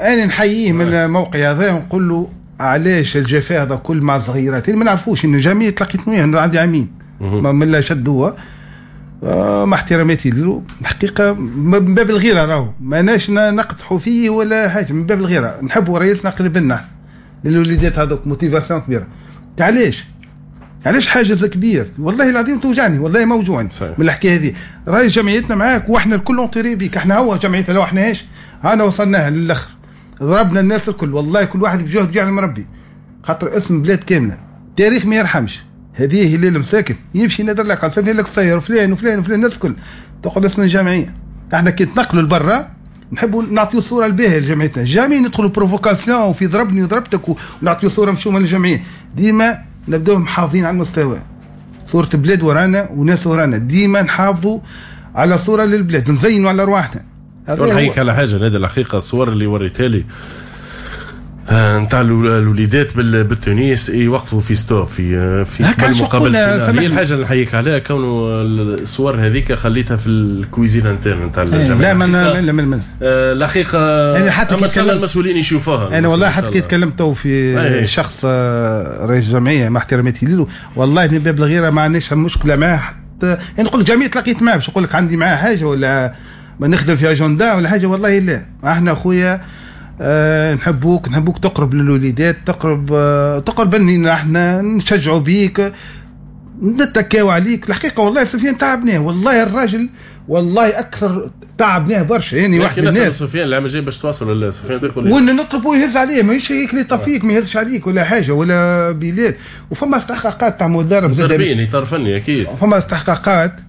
انا نحييه من الموقع هذا ونقول له علاش الجفاء هذا كل مع الصغيرات ما نعرفوش انه جميع تلاقيت وياه عندي عامين من لا شدوه، مع احتراماتي له الحقيقة من باب الغيرة، راهو ماناش نقدحوا فيه ولا حاجة، من باب الغيرة نحبوا رئيسنا قريب لنا للوليدات هذوك motivation كبيرة. علاش علاش حاجز كبير؟ والله العظيم توجعني، والله موجوعني من الحكاية هذه. راي جمعيتنا معاك واحنا الكل entourés بيك، احنا هو جمعيتنا لو احناش انا وصلناها للاخر، ضربنا الناس الكل والله كل واحد بجهد يعلم ربي، خاطر اسم بلاد كاملة تاريخ ما يرحمش. هذه هلال مساكن يمشي نادر لك على لك السير وفلان وفلان وفلان الناس الكل تقول اسم الجمعية. احنا كي نتنقلوا لبرا نحبوا نعطيو صوره الباهيه لجمعيتنا، jamais ندخلوا provocation وفي ضربني وضربتك ونعطيو صوره مشومه للجمعية. ديما نبداو محافظين على المستوى، صورة بلاد ورانا وناس ورانا، ديما نحافظوا على صورة للبلاد، نزينوا على أرواحنا. نحييك على حاجة نادر، الحقيقة الصور اللي وريتها لي نتاع الوليدات بالتونس يوقفوا في stop في في المقابلة، هي الحاجة اللي نحييك عليها كونه الصور هذيك خليتها في ال cuisine interne نتاع الجامعة. لا ما لا ما الحقيقة يعني حتى كي تكلم المسؤولين يشوفوها. انا والله حتى كي تكلمت تو في أيه. شخص رئيس الجمعية مع احتراماتي له والله من باب الغيرة ما عندناش مشكلة معاه، حتى يعني نقول لك جميع تلاقيت معاه باش نقول لك عندي معاه حاجة ولا ما نخدم في اجندة ولا حاجة، والله لا. احنا خويا أه نحبوك، نحبوك تقرب للوليدات، تقرب أه تقرب لنا، احنا نشجعوا بيك، نتكاو عليك. الحقيقة والله سفيان تعبناه، والله الراجل والله اكثر تعبناه برشا، يعني واحد من الناس. سفيان العام الجاي باش تواصل سفيان تقول وان نطلبوا يهز عليه، ماهيش هيك اللي طفيك ما يهزش عليك ولا حاجة ولا بلاد. وفما استحقاقات تاع مدرب مدربين اطار فني اكيد، فما استحقاقات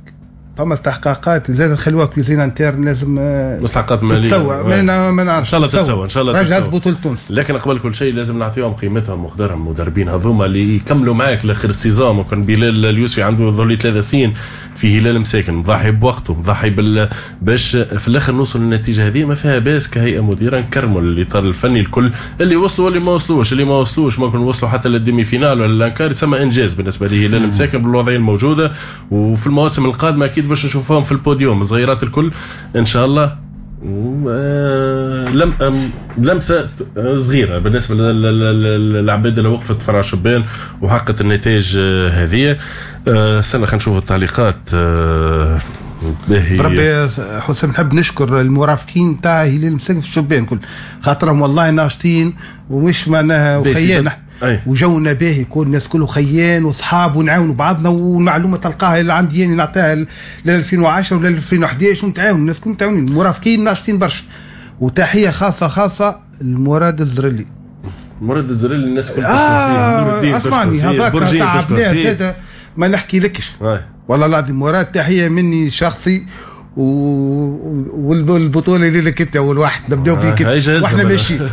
فما استحقاقات زاد نخلوها cuisine interne، لازم مستحقات ماليه تتسوى. ما ما نعرفش ان شاء الله تتسوى، ان شاء الله تتسوى بطولة تونس. لكن قبل كل شيء لازم نعطيهم قيمتهم وقدرهم المدربين هذوما اللي يكملوا معاك لاخر ال saison. ممكن بلال اليوسفي عنده ظل ثلاثة سنين في هلال مساكن، مضحي بوقته، مضحي بال باش في الاخر نوصل للنتيجة هذه. ما فيها باس كهيئة مديره نكرموا الاطار الفني الكل اللي وصلوا واللي ما وصلوش، اللي ما وصلوش ممكن وصلوا حتى لل demi-finale ولا ال quart، يسمى انجاز بالنسبة لهلال مساكن بالوضعيه الموجودة. وفي المواسم القادمة اكيد باش نشوفهم في البوديوم الصغيرات الكل ان شاء الله. لم لمسه صغيرة بالنسبة للعباد اللي وقفت فرع شبان وحققت النتائج هذه. استنى خلينا نشوف التعليقات. باهي ربي حسام، نحب نشكر المرافقين تاع هلال مساكن في الشبان كل، خاطرهم والله ناشطين ومش معناها وخيان وجونا باهي، يكون الناس كله خيان وصحاب ونعاونوا بعضنا، والمعلومه تلقاها اللي عندي يعني نعطيها ل ألفين وعشرة ولا ألفين وأحد عشر ونتعاون الناس كلهم متعاونين، المرافقين ناشطين برشا. وتحية خاصة خاصة لمراد الزرلي، مراد الزرلي الناس كلها آه تشكر فيه، نور الدين تشكر فيه، برجين تشكر فيه، ما نحكي لكش والله العظيم. مراد تحية مني شخصي، و... والبطوله اللي لك انت اول واحد نبداو بيك واحنا ماشيين.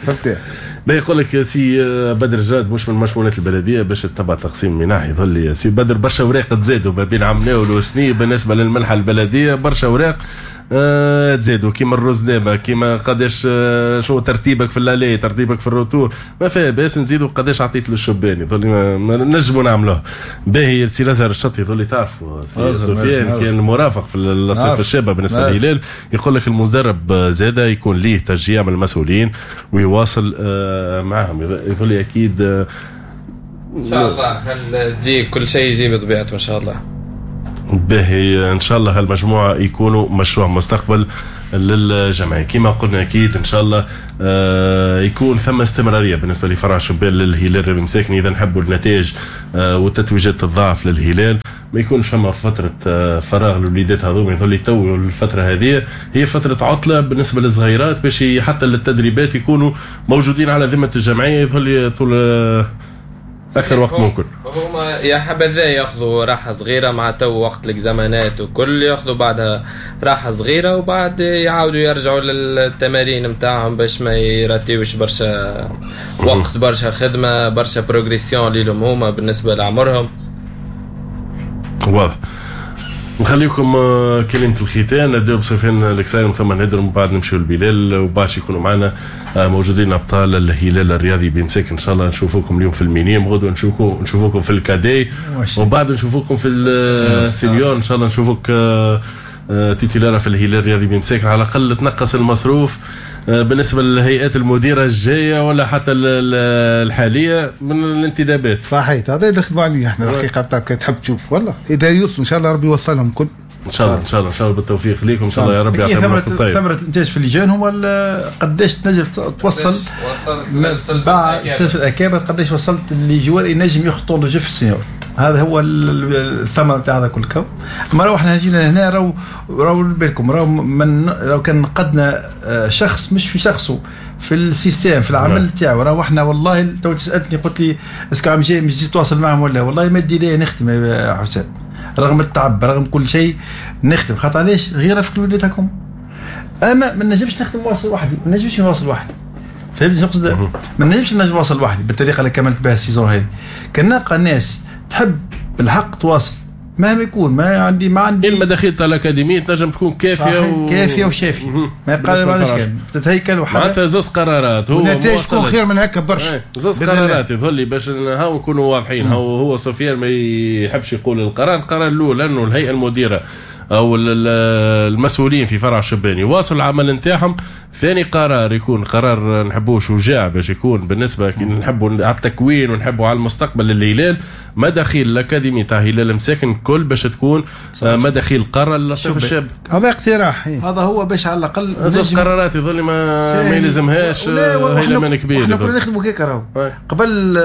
فهمت؟ ما يقول لك سي بدر جاد مش من مشمولات البلدية باش تتبع تقسيم منح، يظل لي سي بدر برشا اوراق تزادوا ما بين عام ناول وسنين بالنسبة للمنحه البلدية، برشا اوراق. آه تزادوا كيما الرزنامه، كيما قداش آه شنو ترتيبك في l'aller، ترتيبك في ال retour، ما فيها باس نزيدوا قداش عطيت للشبان، يظل ما, ما نجموا نعملوه. باهي سي لازهر الشطي يظل تعرفوا سي سفيان كان مرافق في الصيف الشابة بالنسبة للهلال، يقول لك المدرب زاده يكون ليه تشجيع من المسؤولين ويواصل آه معهم، يقول لي اكيد آه ان شاء الله خل تجي كل شيء يجي بطبيعته ان شاء الله. باهي ان شاء الله هالمجموعة يكونوا مشروع مستقبل للجمعية كما قلنا، اكيد ان شاء الله آه يكون ثم استمرارية بالنسبة لفرع شبان للهلال الرياضي مساكني. اذا نحبوا النتائج آه والتتويجات تتضاعف للهلال، ما يكونش فما فترة آه فراغ للوليدات هذوما، يظل تو الفترة هذه هي فترة عطله بالنسبة للصغيرات باش حتى للتدريبات يكونوا موجودين على ذمه الجمعية، يظل طول آه اكثر وقت ممكن. هما يا حبذا ياخذوا راحة صغيرة مع تو وقت الاكزامانات وكل، ياخذوا بعدها راحة صغيرة وبعد يعاودوا يرجعوا للتمارين نتاعهم باش ما يراتيوش برشا وقت، برشا خدمة، برشا progression ليهم هما بالنسبة لعمرهم. واضح. نخليكم كلمة الختام، نبداو بسفيان الكساير ثم نهدر ومن بعد نمشيو لبلال وبعد يكونوا معنا موجودين ابطال الهلال الرياضي بمساكن. ان شاء الله نشوفوكم اليوم في ال minimes، غدوه نشوفكم نشوفوكم في ال cadets، ومن بعد نشوفوكم في ال seniors. ان شاء الله نشوفوك titulaire في الهلال الرياضي بمساكن، على الاقل تنقص المصروف بالنسبة للهيئات المديرة الجاية ولا حتى الحالية من الانتدابات. صحيح، هذا اللي نخدموا عليه احنا الحقيقة بتاعك تحب تشوف والله اذا يوصل ان شاء الله ربي يوصلهم كل ان شاء الله. ان شاء الله ان شاء الله بالتوفيق ليكم ان شاء الله يا رب يعطيكم الطيب. ثمره الانتاج في اللجان هو قداش تنجم توصل بعد سلف الاكابر، قداش وصلت les joueurs ينجم يخطوا le jeu في ال senior، هذا هو الثمرة نتاع هذا كل كو. اما راهو احنا جينا هنا راهو راهو بالكم راهو من راهو كان نقدنا شخص مش في شخصه في ال système في العمل تاعو، راهو احنا والله تو سالتني قلت لي est-ce que عم جاي مش جيت تواصل معهم ولا، والله ما دي ليه نخدم يا حسام رغم التعب رغم كل شيء نخدم، خاطر علاش غير في وليداتكم. اما ما نجمش نخدم واصل وحدي، ما نجمش نواصل وحدي، فهمتني شنو نقصد؟ ما نجمش نجم نواصل وحدي بالطريقة اللي كملت بها ال saison هذه. كان نلقى ناس تحب بالحق تواصل مهما يكون، ما عندي ما عندي المداخيل تاع الاكاديمية تنجم تكون كافيه و... كافيه وشافيه، ما يقال ما تتهيكل وحدها. معناتها زوز قرارات هو النتائج تكون خير من هكا برشا. زوز قرارات يظهر لي باش هاو نكونوا واضحين. هو هو سفيان ما يحبش يقول القرار، القرار الاول انه الهيئة المديرة او المسؤولين في فرع الشبان يواصلوا العمل نتاعهم. ثاني قرار يكون قرار نحبوه شجاع باش يكون بالنسبة كي نحبوا على التكوين ونحبوا على المستقبل للهلال، مداخيل الاكاديمي تاع هلال مساكن كل باش تكون مداخيل قرار للصيف الشاب. هذا اقتراح، هذا هو باش على الاقل زوج قرارات يظل ما ما يلزمهاش هيلمان كبير. احنا كنا نخدموا كيك راهو قبل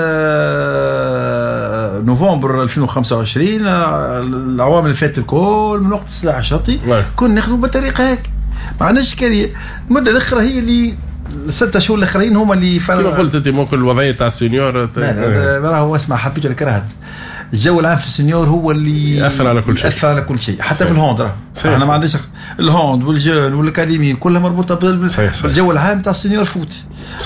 نوفمبر ألفين وخمسة وعشرين، العوامل اللي فاتت الكل من وقت السلاح الشرطي كنا نخدموا بالطريقة هيك، ما عندناش اشكالية. المدة الاخرى هي اللي الستة شهور الاخرين هما اللي فرق. كما قلت انت ممكن الوضعية تاع ال senior راهو اسمع حبيت ولا كرهت، الجو العام في ال senior هو اللي ياثر على كل شيء، ياثر على كل شيء حتى في ال hand راه احنا ما عندناش ال hand وال jeunes وال académie كلها مربوطة بالجو العام تاع ال senior foot.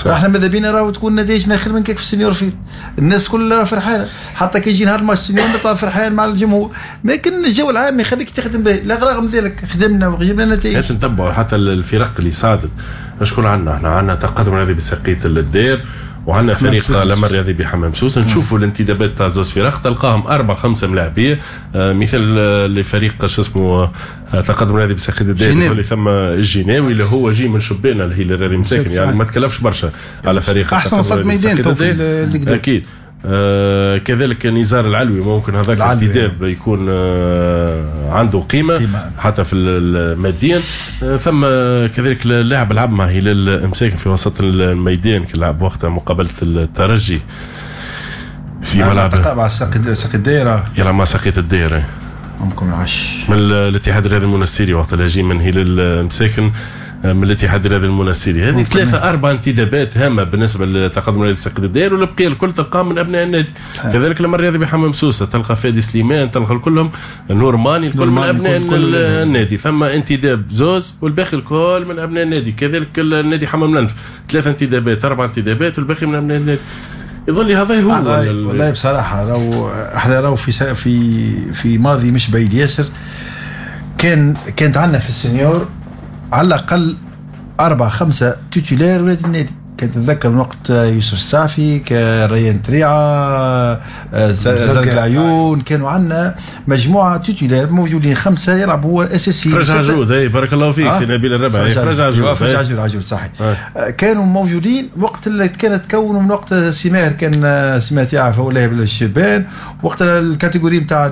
احنا ماذا بينا راهو تكون نتائجنا خير من كيك في ال senior foot، الناس كلها فرحانة حتى كي يجي نهار الماتش ال senior نطلع فرحان مع الجمهور، لكن الجو العام يخليك تخدم به. لا رغم ذلك خدمنا وجبنا نتائج. نتبعوا حتى الفرق اللي صعدت شكون عندنا، احنا عندنا تقدم الرياضي بسقيه الدير وعندنا فريق لما الرياضي بحمام سوسة. نشوفوا الانتدابات تاع زوز فرق تلقاهم اربع خمسة ملاعبيه، آه مثل لفريق شو اسمه آه تقدم الرياضي بساقية الدير اللي ثم الجناوي اللي هو جي من شبان الهلال الرياضي مساكن، يعني ما تكلفش برشا على فريق احسن وسط ميدان اكيد. آه كذلك نزار العلوي ممكن هذاك الانتداب يكون آه عنده قيمة, قيمة حتى في الماديا. آه ثم كذلك اللاعب لعب مع هلال مساكن في وسط الميدان، لعب وقتها مقابلة الترجي في ملعب مع ساقي الدائرة، يلعب مع ساقية الدائرة ممكن العش من الاتحاد الرياضي المنستيري وقت اللي جي من هلال مساكن من الاتحاد الرياضي المنستيري. هذه ثلاثة أربع انتدابات هامة بالنسبة للتقدم الرياضي ساقية الدائرة، والبقية الكل تلقاه من أبناء النادي. كذلك لما الرياضي بحمام سوسة تلقى فادي سليمان، تلقى كلهم نورماني الكل من أبناء كل النادي. ثم انتداب زوز والباقي الكل من أبناء النادي. كذلك النادي حمام لنف ثلاثة انتدابات أربع انتدابات والباقي من أبناء النادي. يظل هذا هو والله بصراحة راهو احنا راهو في في في ماضي مش بعيد ياسر كان كانت عندنا في ال senior على الاقل اربعة خمسة titulaires ولاد النادي. كنت نتذكر من وقت يوسف السعفي، كريان تريعه، زرق العيون، كانوا عندنا مجموعة titulaires موجودين خمسة يلعبوا اساسيين. فرج عجود، اي بارك الله فيك سي نبيل الربعي، فرج عجود، فرج عجود عجود صحيح. آه. كانوا موجودين وقت اللي كانت تكونوا من وقت سي ماهر، كان سي ماهر يعرف هو لاعب الشبان وقت ال catégorie نتاع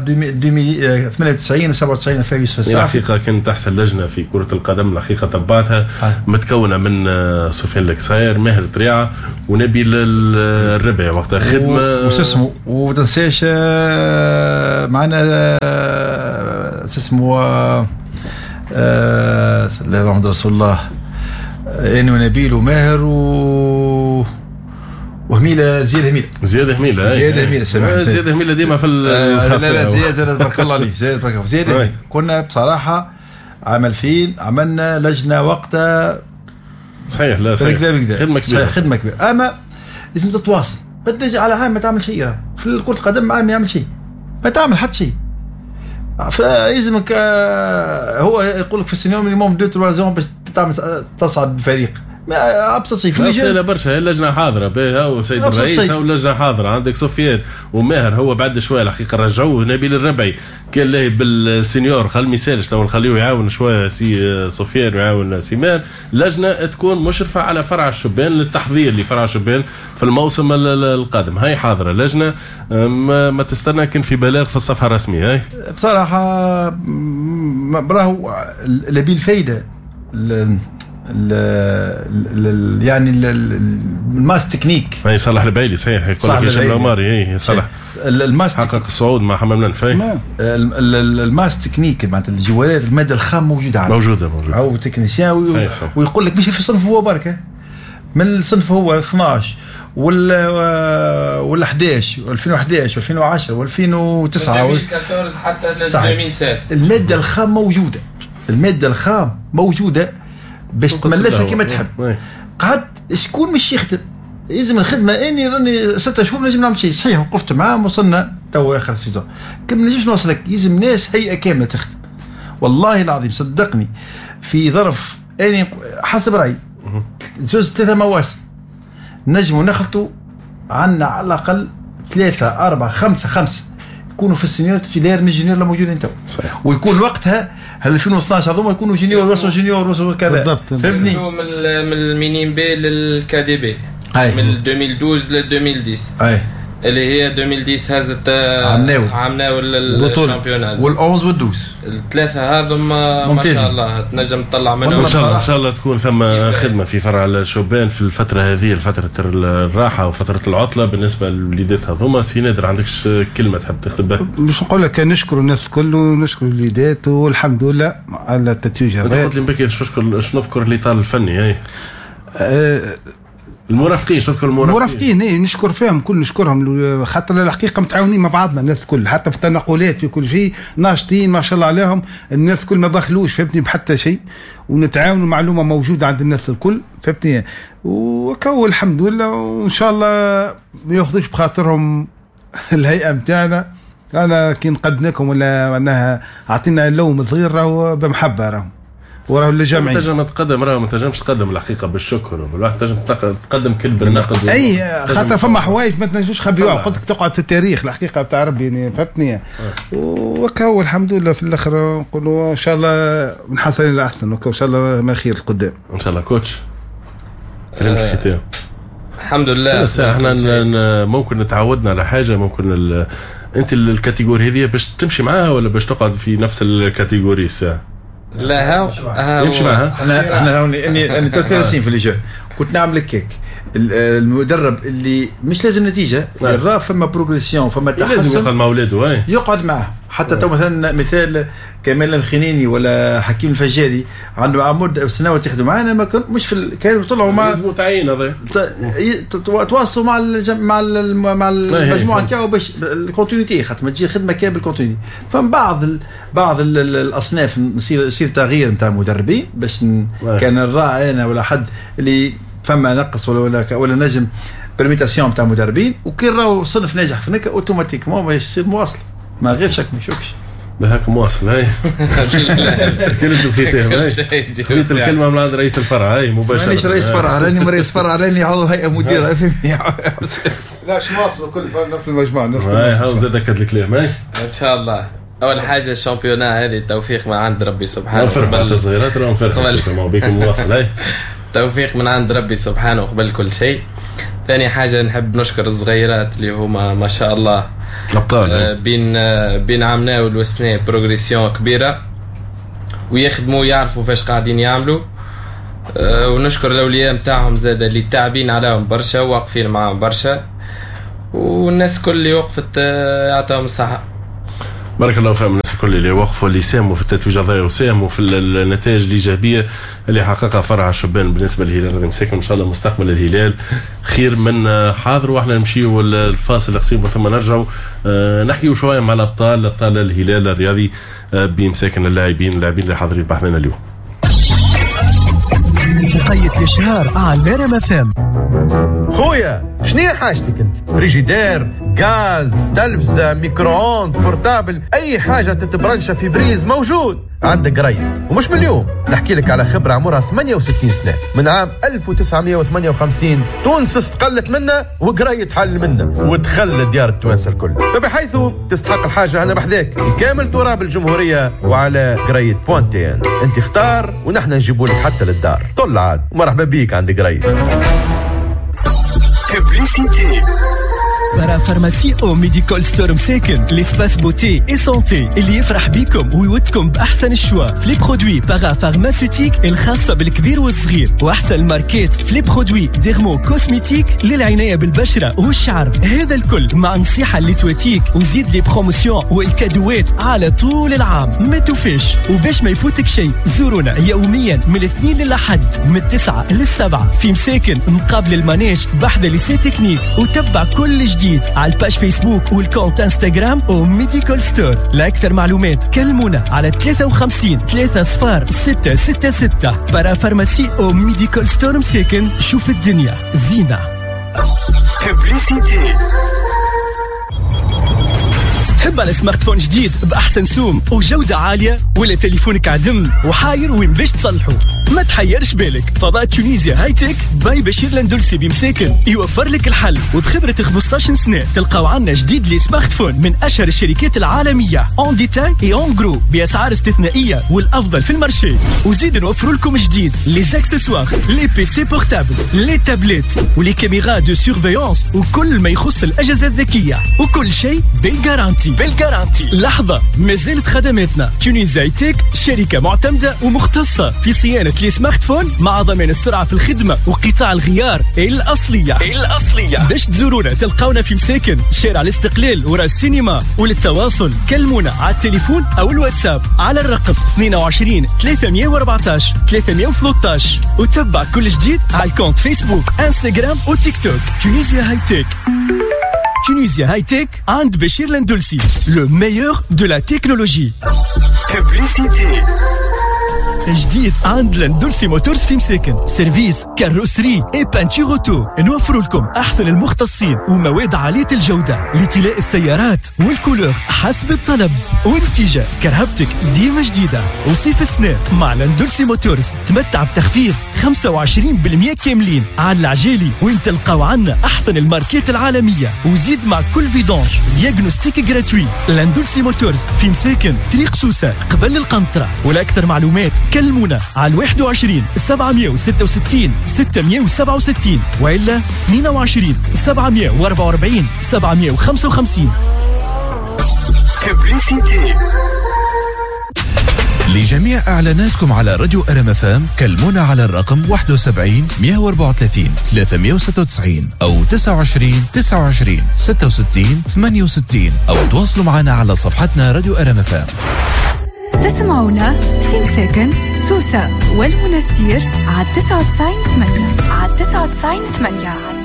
ثمانية وتسعين و سبعة وتسعين فيها يوسف السعفي. الحقيقة كانت احسن لجنة في كره القدم الحقيقة تبعتها، آه. متكونه من سفيان الكساير، ماهر تريعه، ونبيل الربعي وقتها خدمة وش اسمه، وما تنساش معنا شو اسمه لا محمد رسول الله، اني ونبيل وماهر و وهميله، زياد هميله، زياد هميله، زياد هميله، زياد هميله ديما في الخفاء. لا لا زياد زياد بارك الله عليه، زياد بارك الله زياد. كنا بصراحة عام ألفين عملنا لجنة وقتها صحيح، لا صحيح، خدمة كبيرة، خدمة كبيرة، اما لازم تتواصل. ما تجي على عام ما تعمل شيء في كره القدم، عام ما يعمل شيء، ما تعمل حتى شيء. فيلزمك هو يقول لك في ال senior minimum deux trois ans باش تعمل تصعد بفريق. ما ابسط شيء في اللجنة برشا، اللجنة حاضره باهي، هو سيد الرئيس هو اللجنة حاضره، عندك سفيان وماهر هو بعد شوية الحقيقة رجعوه. نبيل الربعي كان لاهي بال senior، خل ما يسالش تو نخليه يعاون شوية سي سفيان ويعاون سيمان. لجنة تكون مشرفة على فرع الشبان للتحضير لفرع الشبان في الموسم القادم، هاي حاضره لجنة ما, ما تستنى كان في بلاغ في الصفحة الرسمية. هاي بصراحة راهو نبيل فايده ال ال يعني ال masse technique. اي صلاح البعيلي صحيح، يقول لك هشام العماري، اي صلاح ال masse حقق الصعود مع حمام الأنف. ال masse technique معناتها الجوالات، المادة الخام موجودة عندنا، موجودة موجودة او technicien، ويقول لك مش في صنف هو بركة، من الصنف هو اثناش وال وال احداش ألفين وأحد عشر ألفين وعشرة وألفين وتسعة ألفين وأربعطاش حتى ألفين وسبعة. المادة الخام موجودة، المادة الخام موجودة باش تملسها كما تحب. قعدت شكون مش يخدم، لازم الخدمة. اني راني ستة شهور نجم نعمل شيء صحيح، وقفت معاهم وصلنا تو اخر ال saison، كم نجمش نوصلك. لازم ناس هيئة كاملة تخدم. والله العظيم صدقني في ظرف اني حسب رايي زوج ثلاثة مواسم نجموا نخلطوا عندنا على الاقل ثلاثة اربعة خمسة خمسة يكونوا في ال senior titulaires من ال junior اللي موجودين تو، ويكون وقتها ألفين واثناش هذوما يكونوا junior وصلوا junior وصلوا كذا. بالضبط، فهمتني؟ من من ال minimes B لل cadets B، من ألفين واثناش ل ألفين وعشرة، اي اللي هي ألفين وعشرة هزت عمناول عمناول ال championnat وال onze وال douze، الثلاثة هذوما ما شاء الله تنجم تطلع منهم ان شاء الله. ان شاء الله تكون ثم خدمة في فرع الشبان في الفترة هذه، فترة الراحة وفترة العطلة بالنسبة للوليدات هذوما. سي نادر عندكش كلمة تحب تخدم بها؟ باش نقول لك نشكر الناس الكل ونشكر الوليدات والحمد لله على التتويج هذا. انت قلت لي بكري نشكر نذكر الاطار الفني، اي أه المرافقين، شوف المرافقين المرافقين ايه نشكر فيهم كل، نشكرهم خاطر الحقيقة متعاونين مع بعضنا الناس الكل، حتى في التنقلات في كل شيء ناشطين ما شاء الله عليهم، الناس الكل ما بخلوش فهمتني بحتى شيء، ونتعاونوا، معلومة موجودة عند الناس الكل فهمتني، وكو الحمد لله. وان شاء الله ما ياخذوش بخاطرهم الهيئة نتاعنا، انا كي نقدناكم ولا معناها عطينا اللوم صغير راهو بمحبة، راهو وراه الجمعية تنجم تقدم، راه ما تنجمش تقدم الحقيقة بالشكر، الواحد تنجم تقدم كل بالنقد. اي خاطر فما حوايج ما تنجمش تخبيوها، قلت لك تقعد في التاريخ الحقيقة بتاع ربي يعني فهمتني. وكهو الحمد لله في الاخر نقولوا ان شاء الله نحصل الاحسن، وكهو ان شاء الله ما خير القدام ان شاء الله. coach كلمة الختام. الحمد لله احنا ممكن نتعودنا على حاجة، ممكن ال... انت ال catégorie هذه باش تمشي معاها ولا باش تقعد في نفس ال catégorie الساعة؟ لا هاو يمشي معها. احنا احنا هوني اني اني ثلاث سنين في les jeunes كنت نعمل كيك المدرب اللي مش لازم نتيجة، اللي راه فما progression فما تحسن لازم يقعد مع اولاده، يقعد معاه حتى تو مثلا مثال كمال الخنيني ولا حكيم الفجاري عنده عمود سنوات يخدموا معنا، ما كان مش في ال... كانوا طلعوا مع لازم تعيين هذا تواصلوا مع الجم... مع ال... مع المجموعة نتاعو باش ال continuité، خاطر ما تجي الخدمة كان بال continuité. فما بعض ال... بعض ال... الاصناف يصير يصير تغيير نتاع مدربين باش ن... كان الراعي انا ولا حد اللي فما نقص ولا ولا ولا نجم permutation تاع مدربين، وكي راهو صنف ناجح في نكا automatiquement باش يصير مواصلة ما غير شك ما يشكش. بهاك مواصل هاي. كلمة الختام هاي، خذيت الكلمة من عند رئيس الفرع هاي مباشرة. مانيش رئيس فرع، راني رئيس فرع، راني عضو هيئة مديرة، فهمني. لا شو مواصل كل نفس المجموعة نفس. هاي هاو زاد أكد الكلام هاي. إن شاء الله. أول حاجة ال championnat هذه توفيق من عند ربي سبحانه. نفرح الصغيرات راهم فرحوا بكم مواصل هاي. توفيق من عند ربي سبحانه قبل كل شيء. ثاني حاجة نحب نشكر الصغيرات اللي هما ما شاء الله أبطال بين بين عمناول والسنة progression كبيرة، ويخدموا يعرفوا فاش قاعدين يعملوا. ونشكر الأولياء متاعهم زاد اللي تعبين عليهم برشا وواقفين معاهم برشا، والناس كل اللي وقفت يعطيهم الصحة. بارك الله فيهم الناس الكل اللي وقفوا، اللي ساهموا في التتويج هذايا وساهموا في النتائج الايجابية اللي حققها فرع الشبان بالنسبة للهلال الرياضي مساكن. ان شاء الله مستقبل الهلال خير من حاضر. واحنا نمشيو الفاصل القصير ثم نرجعوا نحكيو شوية مع الابطال، ابطال الهلال الرياضي بمساكن، اللاعبين اللاعبين اللي حاضرين بحثنا اليوم. وقيت الاشهار على رام اف ام. خويا شنو حاجتك انت؟ فريجيدير، غاز، تلفزه، micro-ondes، portable، اي حاجة تتبرنشة في prise موجود عندك قريت. ومش من اليوم نحكي لك على خبره عمرها ثمانية وستين سنة، من عام ألف وتسعمية وثمانية وخمسين تونس استقلت منا وقريت حل منا ودخل ديار التوانسة الكل، فبحيث تستحق الحاجة انا بحذاك كامل تراب الجمهورية وعلى قريت point tn. انت اختار ونحن نجيبوا لك حتى للدار. طل عاد ومرحبا بيك عند قريت. parapharmacie او Medical Store مساكن، l'espace beauté et santé اللي يفرح بيكم ويودكم باحسن ال choix في les produits parapharmaceutiques الخاصة بالكبير والصغير، واحسن الماركات في les produits dermo-cosmétiques للعنايه بالبشره والشعر. هذا الكل مع نصيحة اللي تواتيك، وزيد les promotions والكادوات على طول العام ما توفيش. وباش ما يفوتك شيء زورونا يوميا من الاثنين للاحد من التسعة للسبعه في مساكن مقابل ال manège بحذا lycée technique، وتبع كل جديد على ال page فيسبوك وال compte انستغرام او Medical Store. لاكثر معلومات كلمونا على ثلاثة وخمسين ثلاثة صفر ستة ستة ستة. parapharmacie او Medical Store مساكن، شوف الدنيا زينة. تحب على smartphone جديد بأحسن سوم وجودة عالية، ولا تليفونك عدم وحاير وين باش تصلحه؟ ما تحيرش بالك، فضاء Tunisia High-Tech by بشير لندلسي بمساكن يوفر لك الحل. وبخبرة خمسطاش سنة تلقاو عنا جديد les smartphones من أشهر الشركات العالمية en détail et en gros بأسعار استثنائية والأفضل في ال marché. وزيد نوفر لكم جديد les accessoires، les PC portables، les tablettes و les caméras de surveillance وكل ما يخص الأجهزة الذكية، وكل شيء بال garantie بال garantie. لحظة، ما زالت خدماتنا Tunisia High-Tech شركة معتمدة ومختصة في صيانة les smartphones مع ضمان السرعة في الخدمة وقطاع الغيار الأصلية الأصلية. باش تزورونا تلقونا في مساكن شارع الاستقلال وراء السينما. وللتواصل كلمونا على التليفون أو الواتساب على الرقم اثنين وعشرين ثلاثمية وأربعتاش ثلاثمية وثلاثطاش، وتبع كل جديد على ال compte فيسبوك انستغرام وتيك توك Tunisia High-Tech. Tunisia High-Tech عند بشير لندلسي، le meilleur de la technologie. جديد عند لندلسي Motors في مساكن، service carrosserie et peinture auto. نوفر لكم احسن المختصين ومواد عالية الجودة لطلاء السيارات وال couleur حسب الطلب، ونتيجة كرهبتك ديما جديدة. وصيف السنة مع لندلسي Motors تمتع بتخفيض خمسة وعشرين بالمية كاملين على العجالي، وين تلقاو عنا احسن الماركات العالمية. وزيد مع كل vidange diagnostic gratuit. لندلسي Motors في مساكن طريق سوسة قبل القنطرة. ولاكثر معلومات كلمونا على واحد وعشرين سبعمية وستة وستين ستمية وسبعة وستين وإلا اثنين وعشرين سبعمية وأربعة وأربعين سبعمية وخمسة وخمسين. لجميع إعلاناتكم على راديو ار ام اف ام كلمونا على الرقم واحد وسبعين مية وأربعة وثلاثين ثلاثمية وستة وتسعين أو تسعة وعشرين تسعة وعشرين ستة وستين ثمانية وستين، أو تواصلوا معنا على صفحتنا راديو ار ام اف ام. تسمعونا في مساكن سوسة والمنستير على تسعة وتسعين ثمانية، على تسعة وتسعين ثمانية.